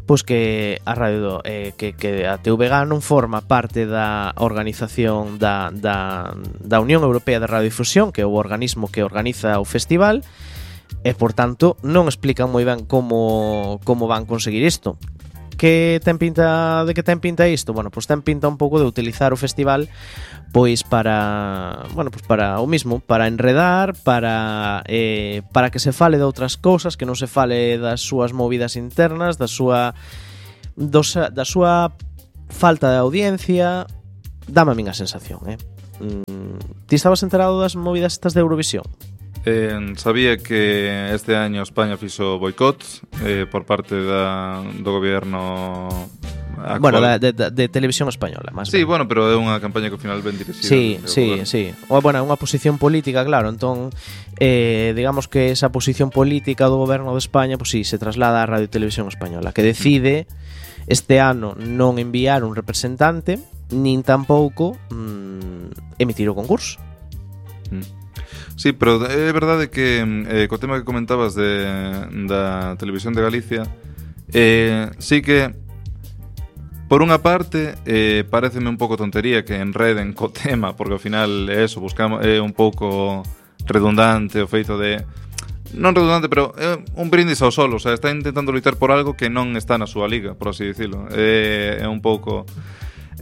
Pois que a radio eh, que, que a T V G non forma parte da organización da, da, da Unión Europea de Radiodifusión, que é o organismo que organiza o festival. e por tanto non explican moi ben como como van conseguir isto. Que ten pinta de que ten pinta isto? Bueno, pois ten pinta un pouco de utilizar o festival pois para, bueno, pois para o mismo, para enredar, para eh, para que se fale de outras cousas, que non se fale das súas movidas internas, da súa dos, da súa falta de audiencia. Dame a min a sensación, eh. Mm, ti estabas enterado das movidas estas de Eurovisión? Eh, sabía que este año España fixo boicot eh, por parte da, do gobierno actual. Bueno, da, de, de, de televisión española, máis Sí, ben. bueno, pero é unha campaña que ao final ben dirixida. Sí, sí, sí. O, bueno, é unha posición política, claro. Entón, eh, digamos que esa posición política do goberno de España, pois pues sí, se traslada á Radio Televisión Española, que decide este ano non enviar un representante, nin tampouco mm, emitir o concurso. Mm. Sí, pero é verdade que eh, co tema que comentabas de, da Televisión de Galicia, eh, sí que por unha parte eh, pareceme un pouco tontería que enreden co tema, porque ao final é eso, buscamos é un pouco redundante o feito de non redundante, pero é un brindis ao sol, o sea, está intentando lutar por algo que non está na súa liga, por así dicilo. É, é un pouco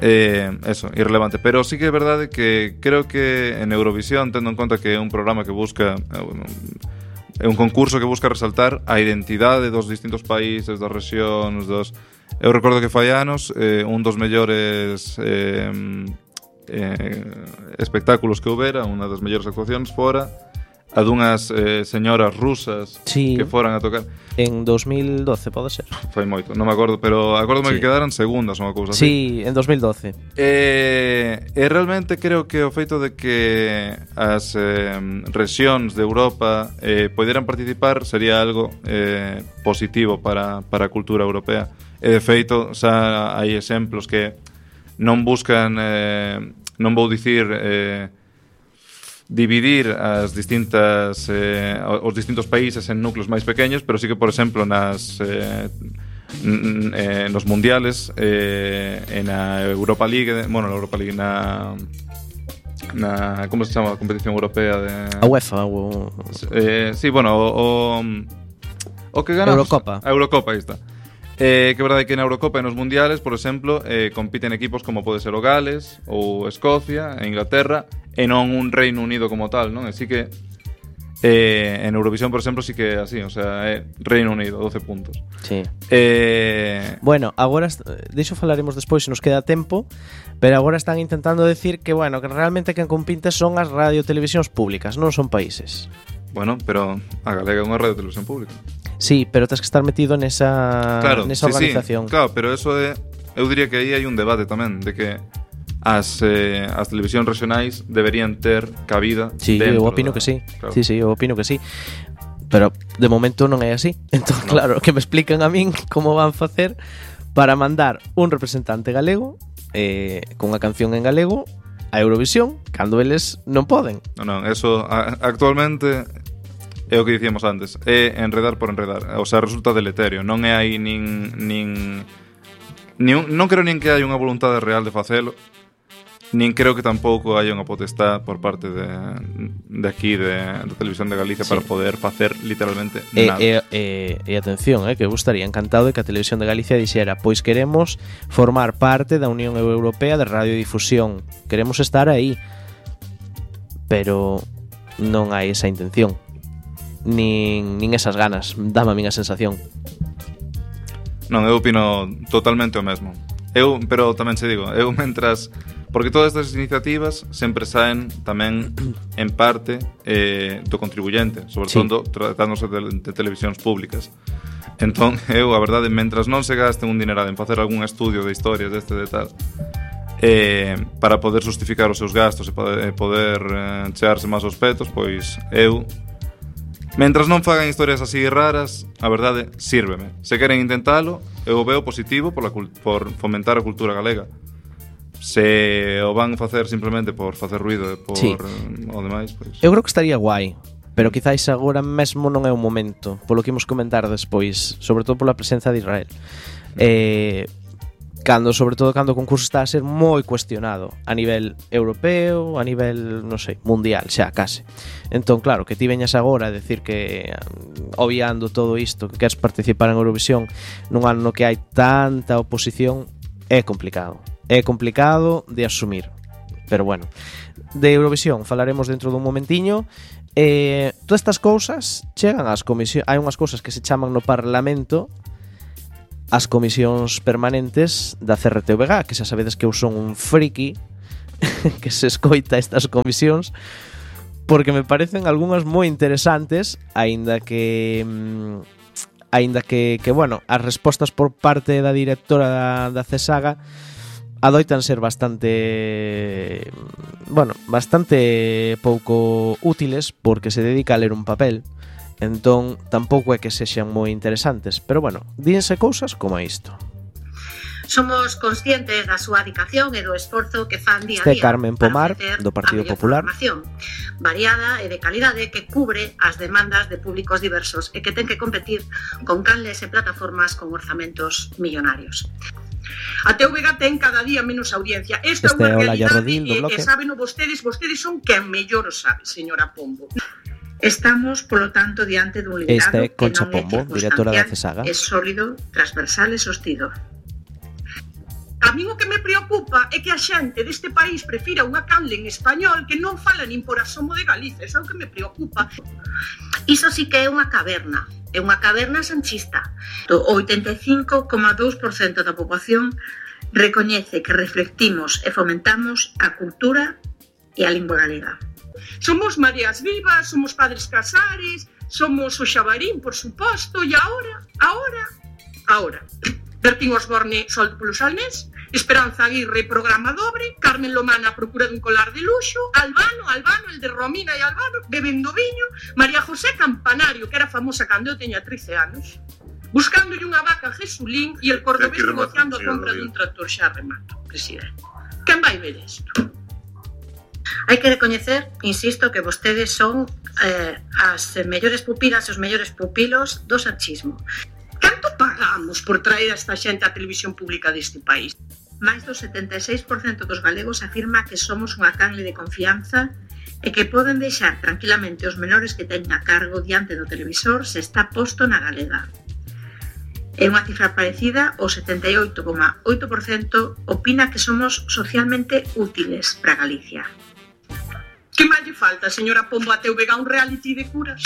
Eh, eso, irrelevante, pero sí que é verdade que creo que en Eurovisión, tendo en conta que é un programa que busca é un concurso que busca resaltar a identidade dos distintos países, das rexións, dos... Eu recordo que fai anos eh, un dos mellores eh, eh, espectáculos que houbera, unha das mellores actuacións fora a dunhas eh, señoras rusas sí, que foran a tocar en dos mil doce, pode ser. Fai moito, non me acordo, pero acórdome sí. que quedaran segundas ou unha cousa así. Sí, en dos mil doce. E, e realmente creo que o feito de que as eh, rexións de Europa eh, poderan participar sería algo eh, positivo para, para a cultura europea. E de feito, xa hai exemplos que non buscan, eh, non vou dicir... Eh, dividir as distintas eh, os distintos países en núcleos máis pequeños, pero sí que, por exemplo, nas eh, n- eh, nos mundiales eh, en a Europa League, bueno, na Europa League na na como se chama a competición europea de a UEFA o eh, sí, bueno, o, o, o que ganamos Eurocopa. A Eurocopa, aí está. Eh, que é verdade que na Eurocopa e nos mundiales, por exemplo, eh, compiten equipos como pode ser o Gales ou Escocia e Inglaterra e non un Reino Unido como tal, non? Así que eh, en Eurovisión, por exemplo, sí que é así, o sea, é Reino Unido, doce puntos. Sí. Eh... Bueno, agora diso falaremos despois se nos queda tempo, pero agora están intentando decir que, bueno, que realmente quen compite son as radiotelevisións públicas, non son países. Bueno, pero a Galega é unha radiotelevisión pública. Sí, pero tens que estar metido nesa, claro, nesa sí, organización. Sí, claro, pero eso é... Eu diría que aí hai un debate tamén, de que as, eh, as televisións regionais deberían ter cabida sí, dentro eu opino da... que sí. Claro. Sí, sí, eu opino que sí. Pero de momento non é así. Entón, no. Claro, que me explican a min como van facer para mandar un representante galego eh, con unha canción en galego a Eurovisión, cando eles non poden. Non, non, eso a, actualmente é o que dicíamos antes, é enredar por enredar, o sea, resulta deleterio, non é aí nin nin, nin non creo nin que hai unha voluntade real de facelo, nin creo que tampouco hai unha potestad por parte de, de aquí de, de Televisión de Galicia sí. para poder facer literalmente e, nada. E, e, e atención, eh, que eu estaría encantado de que a Televisión de Galicia dixera, pois queremos formar parte da Unión Europea de Radiodifusión, queremos estar aí, pero non hai esa intención. Nin, nin esas ganas, dame a min a sensación. Non, eu opino totalmente o mesmo. Eu, pero tamén se digo, eu mentras, porque todas estas iniciativas sempre saen tamén en parte eh, do contribuyente, sobre sí. todo tratándose de, de televisións públicas. Entón, eu, a verdade, mentras non se gasten un dinerado en facer algún estudio de historias deste de tal, eh, para poder justificar os seus gastos e poder, poder eh, chearse máis aos petos, pois eu mentras non fagan historias así raras, a verdade, sírveme. Se queren intentalo, eu o veo positivo por, la, por fomentar a cultura galega. Se o van facer simplemente por facer ruido e por sí. o demais, pois... Eu creo que estaría guai, pero quizáis agora mesmo non é o momento, polo que imos comentar despois, sobre todo pola presenza de Israel. Eh, cando, sobre todo cando o concurso está a ser moi cuestionado a nivel europeo, a nivel, non sei, mundial, xa, case. Entón, claro, que ti veñas agora a decir que, obviando todo isto, que queres participar en Eurovisión nun ano no que hai tanta oposición, é complicado. É complicado de asumir. Pero bueno, de Eurovisión falaremos dentro dun momentiño. Eh, todas estas cousas chegan ás comisións. Hai unhas cousas que se chaman no Parlamento as comisións permanentes da C R T V G, que xa sabedes que eu son un friki que se escoita estas comisións, porque me parecen algunhas moi interesantes, aínda que aínda que, que bueno, as respostas por parte da directora da, da CESAGA adoitan ser bastante, bueno, bastante pouco útiles, porque se dedica a ler un papel. Entón, tampouco é que sexan moi interesantes, pero bueno, díense cousas como isto. Somos conscientes da súa dedicación e do esforzo que fan día a día. Este Carmen Pomar, do Partido Popular. Variada e de calidade que cubre as demandas de públicos diversos e que ten que competir con canles e plataformas con orzamentos millonarios. A T V G ten cada día menos audiencia. Esta este é unha realidade realidade e, e saben vostedes, vostedes son quen mellor o sabe, señora Pombo. Estamos, polo tanto, diante dun liderado este que non é Pombo, directora da CESAGA. É sólido, transversal e sostido. A mí o que me preocupa é que a xente deste país prefira unha canle en español que non fala nin por asomo de Galicia. Eso é o que me preocupa. Iso sí que é unha caverna. É unha caverna sanchista. O oitenta e cinco coma dous por cento da poboación recoñece que reflectimos e fomentamos a cultura e a lingua galega. Somos Marías Vivas, somos Padres Casares, somos o Xabarín, por suposto, e agora, agora, agora. Bertín Osborne, soldo polo Salnés, Esperanza Aguirre, programa dobre, Carmen Lomana, procura dun colar de luxo, Albano, Albano, el de Romina e Albano, bebendo viño, María José Campanario, que era famosa cando eu teña trece anos, buscándolle unha vaca a Jesulín e el cordobés negociando a compra dun tractor. Xa remato, presidente. Quen vai ver isto? Hai que recoñecer, insisto, que vostedes son eh, as mellores pupilas e os mellores pupilos do sanchismo. Canto pagamos por traer a esta xente á televisión pública deste país? Mais do setenta e seis por cento dos galegos afirma que somos unha canle de confianza e que poden deixar tranquilamente os menores que teñen a cargo diante do televisor se está posto na galega. É unha cifra parecida, o setenta e oito coma oito por cento opina que somos socialmente útiles para Galicia. Que máis lle falta, señora Pombo, a T V G un reality de curas?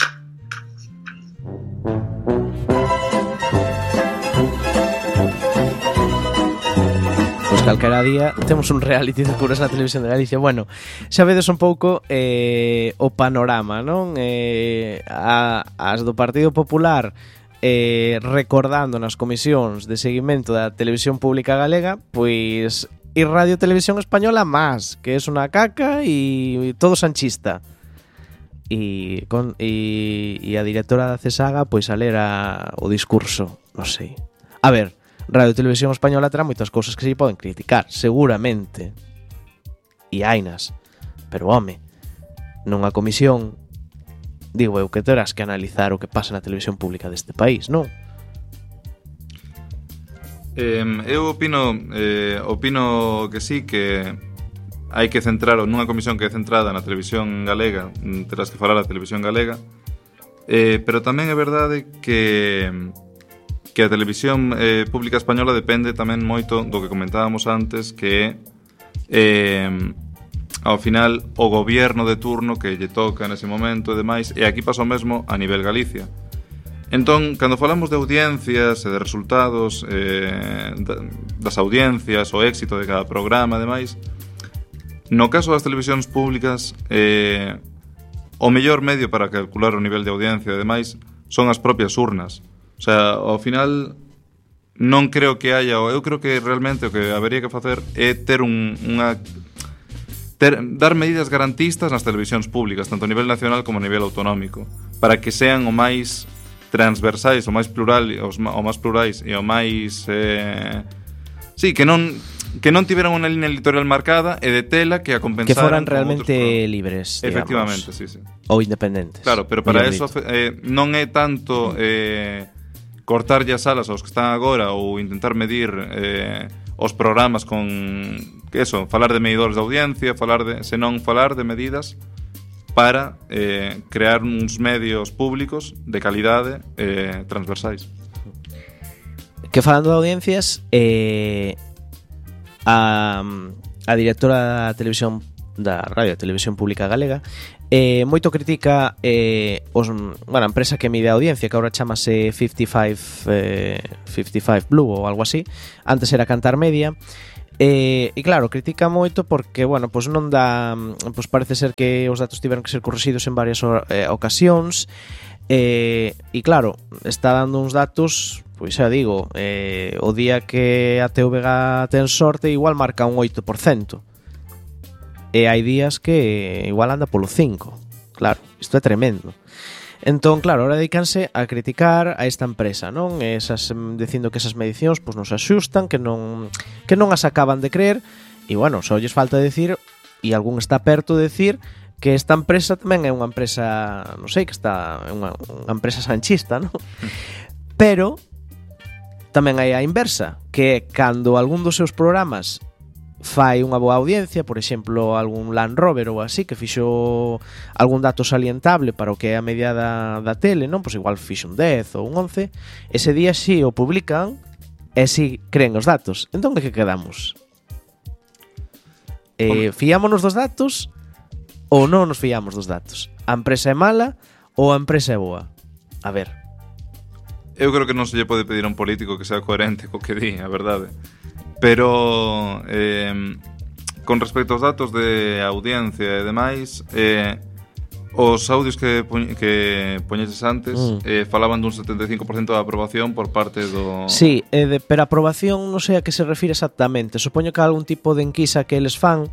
Pois calquera día temos un reality de curas na televisión de Galicia. Bueno, xa vedes un pouco eh, o panorama, non? Eh, a, as do Partido Popular eh, recordando nas comisións de seguimento da televisión pública galega, pois e Radio Televisión Española más, que es una caca y todo sanchista. Y con y, y a directora da CESAGA pois a ler a, o discurso, non sei. A ver, Radio Televisión Española terá moitas cousas que se poden criticar, seguramente. E hainas. Pero home, nunha comisión digo eu que terás que analizar o que pasa na televisión pública deste país, non? Eh, eu opino eh, opino que sí, que hai que centrar nunha comisión que é centrada na televisión galega, terás que falar a televisión galega, eh, pero tamén é verdade que que a televisión eh, pública española depende tamén moito do que comentábamos antes, que eh, ao final o goberno de turno que lle toca nese momento e demais, e aquí pasa o mesmo a nivel Galicia. Entón, cando falamos de audiencias e de resultados eh, das audiencias, o éxito de cada programa e demais, no caso das televisións públicas eh, o mellor medio para calcular o nivel de audiencia e demais son as propias urnas. O sea, ao final non creo que haya, eu creo que realmente o que habería que facer é ter un, unha ter, dar medidas garantistas nas televisións públicas, tanto a nivel nacional como a nivel autonómico, para que sean o máis transversais, o máis plural, os o máis plurais e o máis eh, sí, que non que non tiveran unha línea editorial marcada e de tela que a compensaran, que foran realmente libres, digamos. Efectivamente, sí, sí. Ou independentes. Claro, pero para eso eh, non é tanto eh, cortarlle as alas aos que están agora ou intentar medir eh, os programas con que eso, falar de medidores de audiencia, falar de, senón falar de medidas para eh, crear uns medios públicos de calidade eh, transversais. Que falando de audiencias, eh, a, a directora da televisión da Radio e Televisión Pública Galega eh, moito critica eh, os, bueno, a empresa que mide a audiencia, que agora chamase cincuenta y cinco, eh, cincuenta y cinco Blue ou algo así, antes era Cantar Media. Eh, e claro, critica moito porque, bueno, pois non dá, pois parece ser que os datos tiveron que ser corrixidos en varias eh, ocasións. Eh, e claro, está dando uns datos, pois xa digo, eh, o día que a T V G ten sorte igual marca un oito por cento. E hai días que igual anda polo cinco. Claro, isto é tremendo. Entón, claro, ahora dedicanse a criticar a esta empresa, non? Esas, dicindo que esas medicións pois non se axustan, que non que non as acaban de creer. E bueno, só lles falta decir, e algún está perto de decir, que esta empresa tamén é unha empresa, non sei, que está é unha, unha empresa sanchista, non? Pero tamén hai a inversa, que é cando algún dos seus programas fai unha boa audiencia, por exemplo, algún Land Rover ou así, que fixo algún dato salientable para o que é a media da, da tele, non? Pois igual fixo un dez ou un once, ese día si o publican e si creen os datos. Entón, de que quedamos? Eh, fiámonos dos datos ou non nos fiamos dos datos? A empresa é mala ou a empresa é boa? A ver. Eu creo que non se lle pode pedir a un político que sea coherente co que di, a verdade. Pero eh, con respecto aos datos de audiencia e demais, eh, os audios que, poñ, que poñeses antes mm. eh, falaban dun setenta e cinco por cento de aprobación por parte do... Sí, eh, de, pero aprobación non sei a que se refire exactamente. Supoño que algún tipo de enquisa que eles fan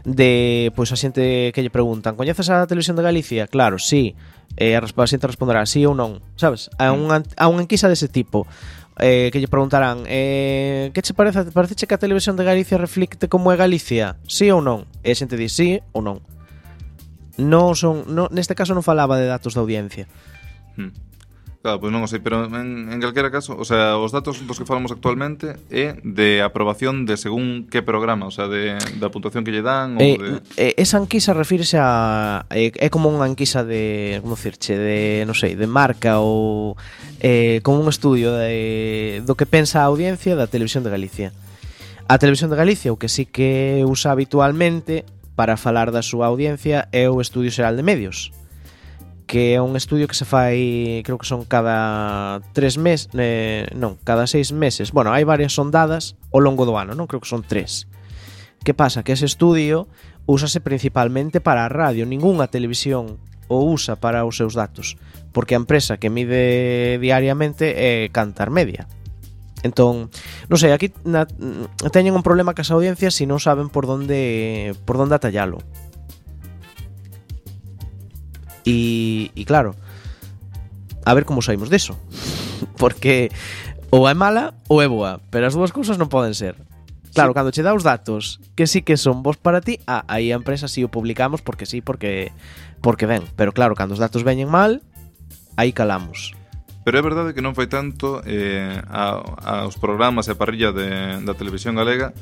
de, pois, a xente que lle preguntan, coñeces a Televisión de Galicia? Claro, sí. Eh, a xente responderá sí ou non, sabes? A unha, a unha enquisa dese tipo. Eh, que lle preguntarán eh, que che parece, parece que a Televisión de Galicia reflicte como é Galicia, sí ou non? E a xente di sí ou non. Non son, non, neste caso non falaba de datos de audiencia. hmm. Claro, pois non o sei, pero en, en calquera caso, o sea, os datos dos que falamos actualmente é de aprobación de según que programa, o sea, de, da puntuación que lle dan ou eh, de... eh, esa enquisa refírese a é, é como unha enquisa de, como dicirche, de, non sei, de marca ou eh, como un estudio de, do que pensa a audiencia da Televisión de Galicia. A Televisión de Galicia o que sí que usa habitualmente para falar da súa audiencia é o Estudio Xeral de Medios, que é un estudio que se fai, creo que son cada tres meses, eh, non, cada seis meses. Bueno, hai varias sondadas ao longo do ano, non? Creo que son tres. Que pasa? Que ese estudio úsase principalmente para a radio, ningunha televisión o usa para os seus datos, porque a empresa que mide diariamente é Cantar Media. Entón, non sei, aquí na, teñen un problema cas audiencias se non saben por onde por onde atallalo. E, e claro, a ver como saímos deso. Porque ou é mala ou é boa, pero as dúas cousas non poden ser. Claro, sí. Cando che dá os datos que sí que son bons para ti, ah, aí a empresa sí o publicamos porque sí, porque porque ven. Pero claro, cando os datos veñen mal, aí calamos. Pero é verdade que non foi tanto eh, a, aos programas e a parrilla de, da televisión galega.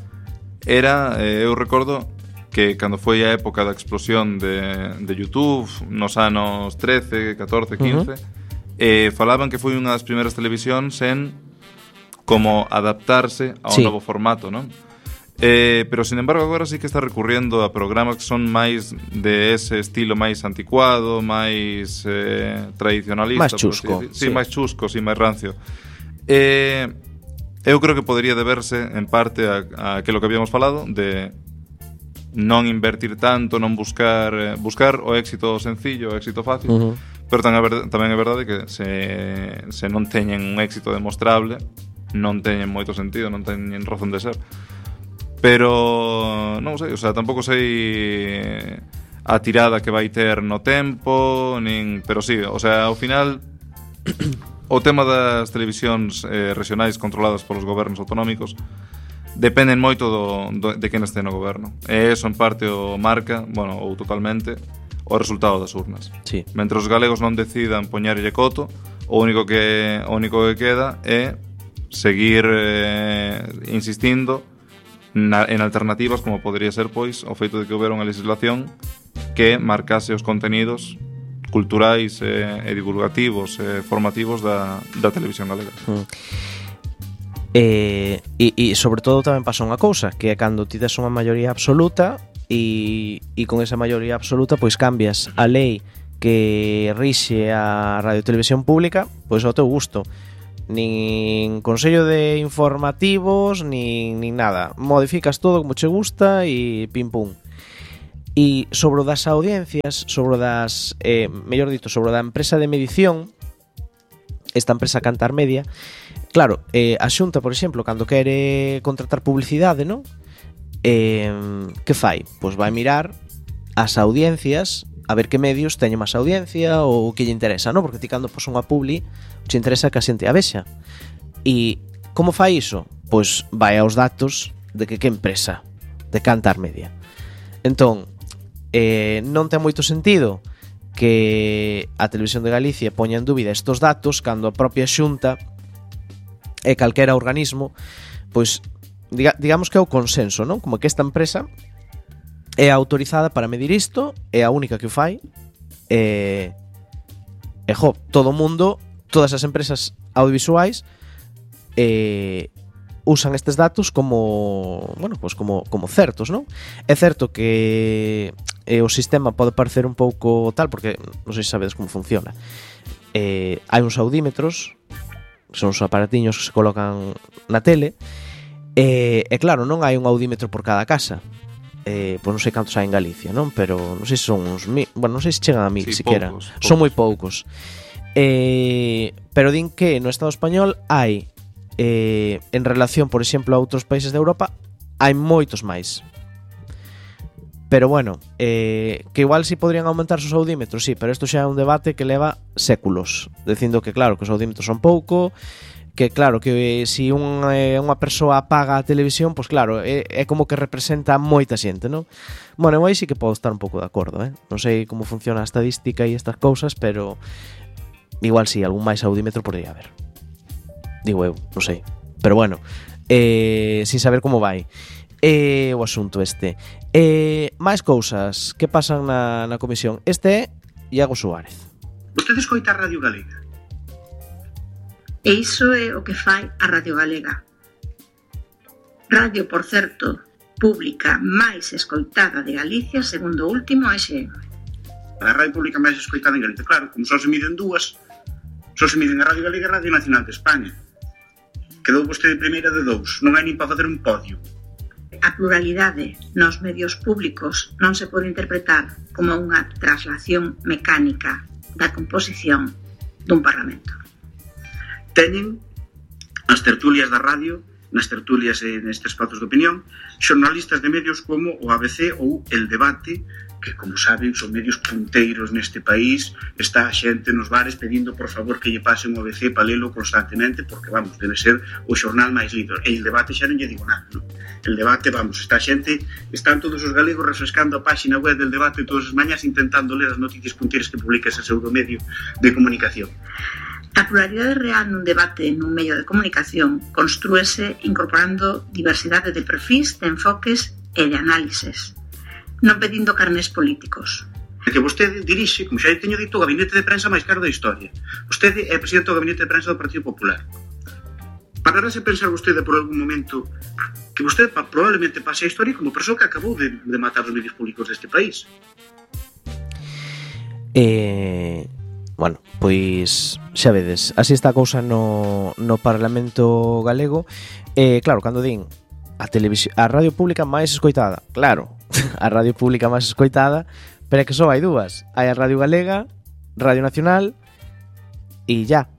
Era, eh, eu recordo que cando foi a época da explosión de, de YouTube, nos anos trece, catorce, quince, uh-huh. eh, falaban que foi unha das primeiras televisións en como adaptarse ao sí. novo formato, non? Eh, pero, sin embargo, agora sí que está recurriendo a programas que son máis de ese estilo máis anticuado, máis eh, tradicionalista. Máis chusco. Sí, sí, máis chusco, sí, máis rancio. Eh, eu creo que podería deberse, en parte, a, a aquilo que habíamos falado, de non invertir tanto, non buscar eh, buscar o éxito sencillo, o éxito fácil, uh-huh. pero tamén é, verdade, tamén é verdade que se, se non teñen un éxito demostrable, non teñen moito sentido, non teñen razón de ser. Pero non sei, o sea, tampouco sei a tirada que vai ter no tempo, nin, pero sí, o sea, ao final o tema das televisións eh, regionais controladas polos gobernos autonómicos dependen moito do, do, de quen este no goberno. E eso en parte o marca, bueno, ou totalmente, o resultado das urnas. Sí. Mentre os galegos non decidan poñerlle coto, o único que o único que queda é seguir eh, insistindo na, en alternativas como podría ser pois o feito de que houbera unha legislación que marcase os contenidos culturais e, e divulgativos e formativos da, da televisión galega. Mm. E, e, e sobre todo tamén pasa unha cousa, que é cando ti des unha maioría absoluta e, e con esa maioría absoluta pois cambias a lei que rixe a radio e televisión pública pois ao teu gusto. Nin consello de informativos nin, nin nada, modificas todo como che gusta e pim pum. E sobre o das audiencias, sobre o das eh, mellor dito, sobre o da empresa de medición, esta empresa Cantar Media, claro, eh, a Xunta, por exemplo, cando quere contratar publicidade, non? Eh, que fai? Pois vai mirar as audiencias, a ver que medios teñen máis audiencia ou que lle interesa, non? Porque ti cando pos unha publi che interesa que a xente a vexa. E como fai iso? Pois vai aos datos de que que empresa, de Cantar Media. Entón, eh, non ten moito sentido que a Televisión de Galicia poña en dúbida estos datos cando a propia Xunta e calquera organismo pois diga, digamos que é o consenso, non? Como que esta empresa é autorizada para medir isto, é a única que o fai e, e jo, todo o mundo, todas as empresas audiovisuais e, usan estes datos como, bueno, pues como, como certos, non? É certo que eh, o sistema pode parecer un pouco tal, porque non sei se sabedes como funciona. Eh, hai uns audímetros, son os aparatiños que se colocan na tele, e, e claro, non hai un audímetro por cada casa. Eh, pois non sei cantos hai en Galicia, non? Pero non sei se son uns mil, bueno, non sei se chegan a mil, sí, siquiera. Poucos, poucos. Son moi poucos. Eh, pero din que no Estado español hai eh, en relación, por exemplo, a outros países de Europa, hai moitos máis. Pero bueno, eh, que igual si podrían aumentar os audímetros, sí, pero isto xa é un debate que leva séculos, dicindo que claro, que os audímetros son pouco, que claro, que se si un, eh, unha persoa apaga a televisión, pois claro, é, é como que representa moita xente, non? Bueno, eu aí sí que podo estar un pouco de acordo, eh? Non sei como funciona a estadística e estas cousas, pero igual si sí, algún máis audímetro podría haber. Digo eu, non sei. Pero bueno, eh, sin saber como vai eh, o asunto este. Eh, máis cousas que pasan na, na comisión. Este é Iago Suárez. Vostede escoita a Radio Galega? E iso é o que fai a Radio Galega. Radio, por certo, pública máis escoitada de Galicia, segundo o último A X M. A radio pública máis escoitada en Galicia, claro, como só se miden dúas, só se miden a Radio Galega e a Radio Nacional de España. Quedou vostede primeira de dous, non hai nin para facer un podio. A pluralidade nos medios públicos non se pode interpretar como unha traslación mecánica da composición dun parlamento. Teñen as tertulias da radio, nas tertulias e nestes espazos de opinión, xornalistas de medios como o A B C ou El Debate, que, como saben, son medios punteiros neste país. Está a xente nos bares pedindo, por favor, que lle pasen o A B C para lelo constantemente, porque, vamos, debe ser o xornal máis lido. E El Debate xa non lle digo nada, non? El Debate, vamos, está a xente, están todos os galegos refrescando a páxina web del Debate todas as mañas intentando ler as noticias punteiras que publica ese pseudomedio de comunicación. A pluralidade real nun debate nun medio de comunicación construese incorporando diversidade de perfis, de enfoques e de análises, non pedindo carnés políticos. Que vostede dirixe, como xa teño dito, o gabinete de prensa máis caro da historia. Vostede é presidente do gabinete de prensa do Partido Popular. Pararase pensar vostede por algún momento que vostede probablemente pase a historia como persoa que acabou de, de matar os medios públicos deste país? Eh... Bueno, pois xa vedes, así está a cousa no, no Parlamento galego. eh, Claro, cando din a, televisión, a radio pública máis escoitada, claro, a radio pública máis escoitada, pero é que só hai dúas. Hai a Radio Galega, Radio Nacional e ya.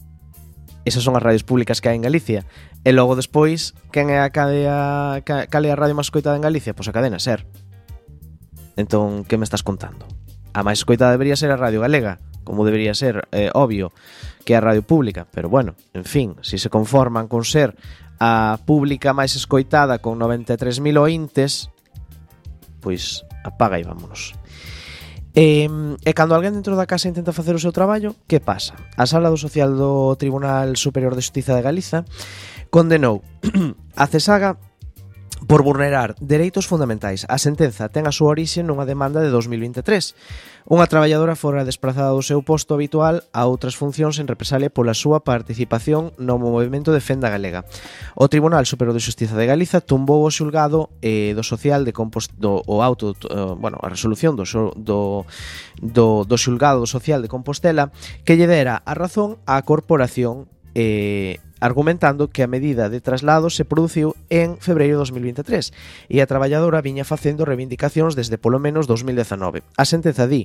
Esas son as radios públicas que hai en Galicia. E logo despois, quen é a cadea, cal é a radio máis escoitada en Galicia? Pois a Cadena Ser. Entón, que me estás contando? A máis escoitada debería ser a Radio Galega, como debería ser, eh, obvio, que é a radio pública, pero bueno, en fin, se si se conforman con ser a pública máis escoitada con noventa e tres mil ointes, pois apaga e vámonos. E, e cando alguén dentro da casa intenta facer o seu traballo, que pasa? A Sala do Social do Tribunal Superior de Xustiza de Galiza condenou a CESAGA por vulnerar dereitos fundamentais. A sentenza ten a súa orixe nunha demanda de dos mil vinte e tres. Unha traballadora fora desplazada do seu posto habitual a outras funcións en represalia pola súa participación no movimento Defenda Galega. O Tribunal Superior de Xustiza de Galiza tumbou o xulgado eh, do social de Compost do o auto, eh, bueno, a resolución do, do do do xulgado social de Compostela que lle dera a razón á corporación eh argumentando que a medida de traslado se produciu en febreiro de dos mil vinte e tres e a traballadora viña facendo reivindicacións desde polo menos dos mil dezanove. A sentenza di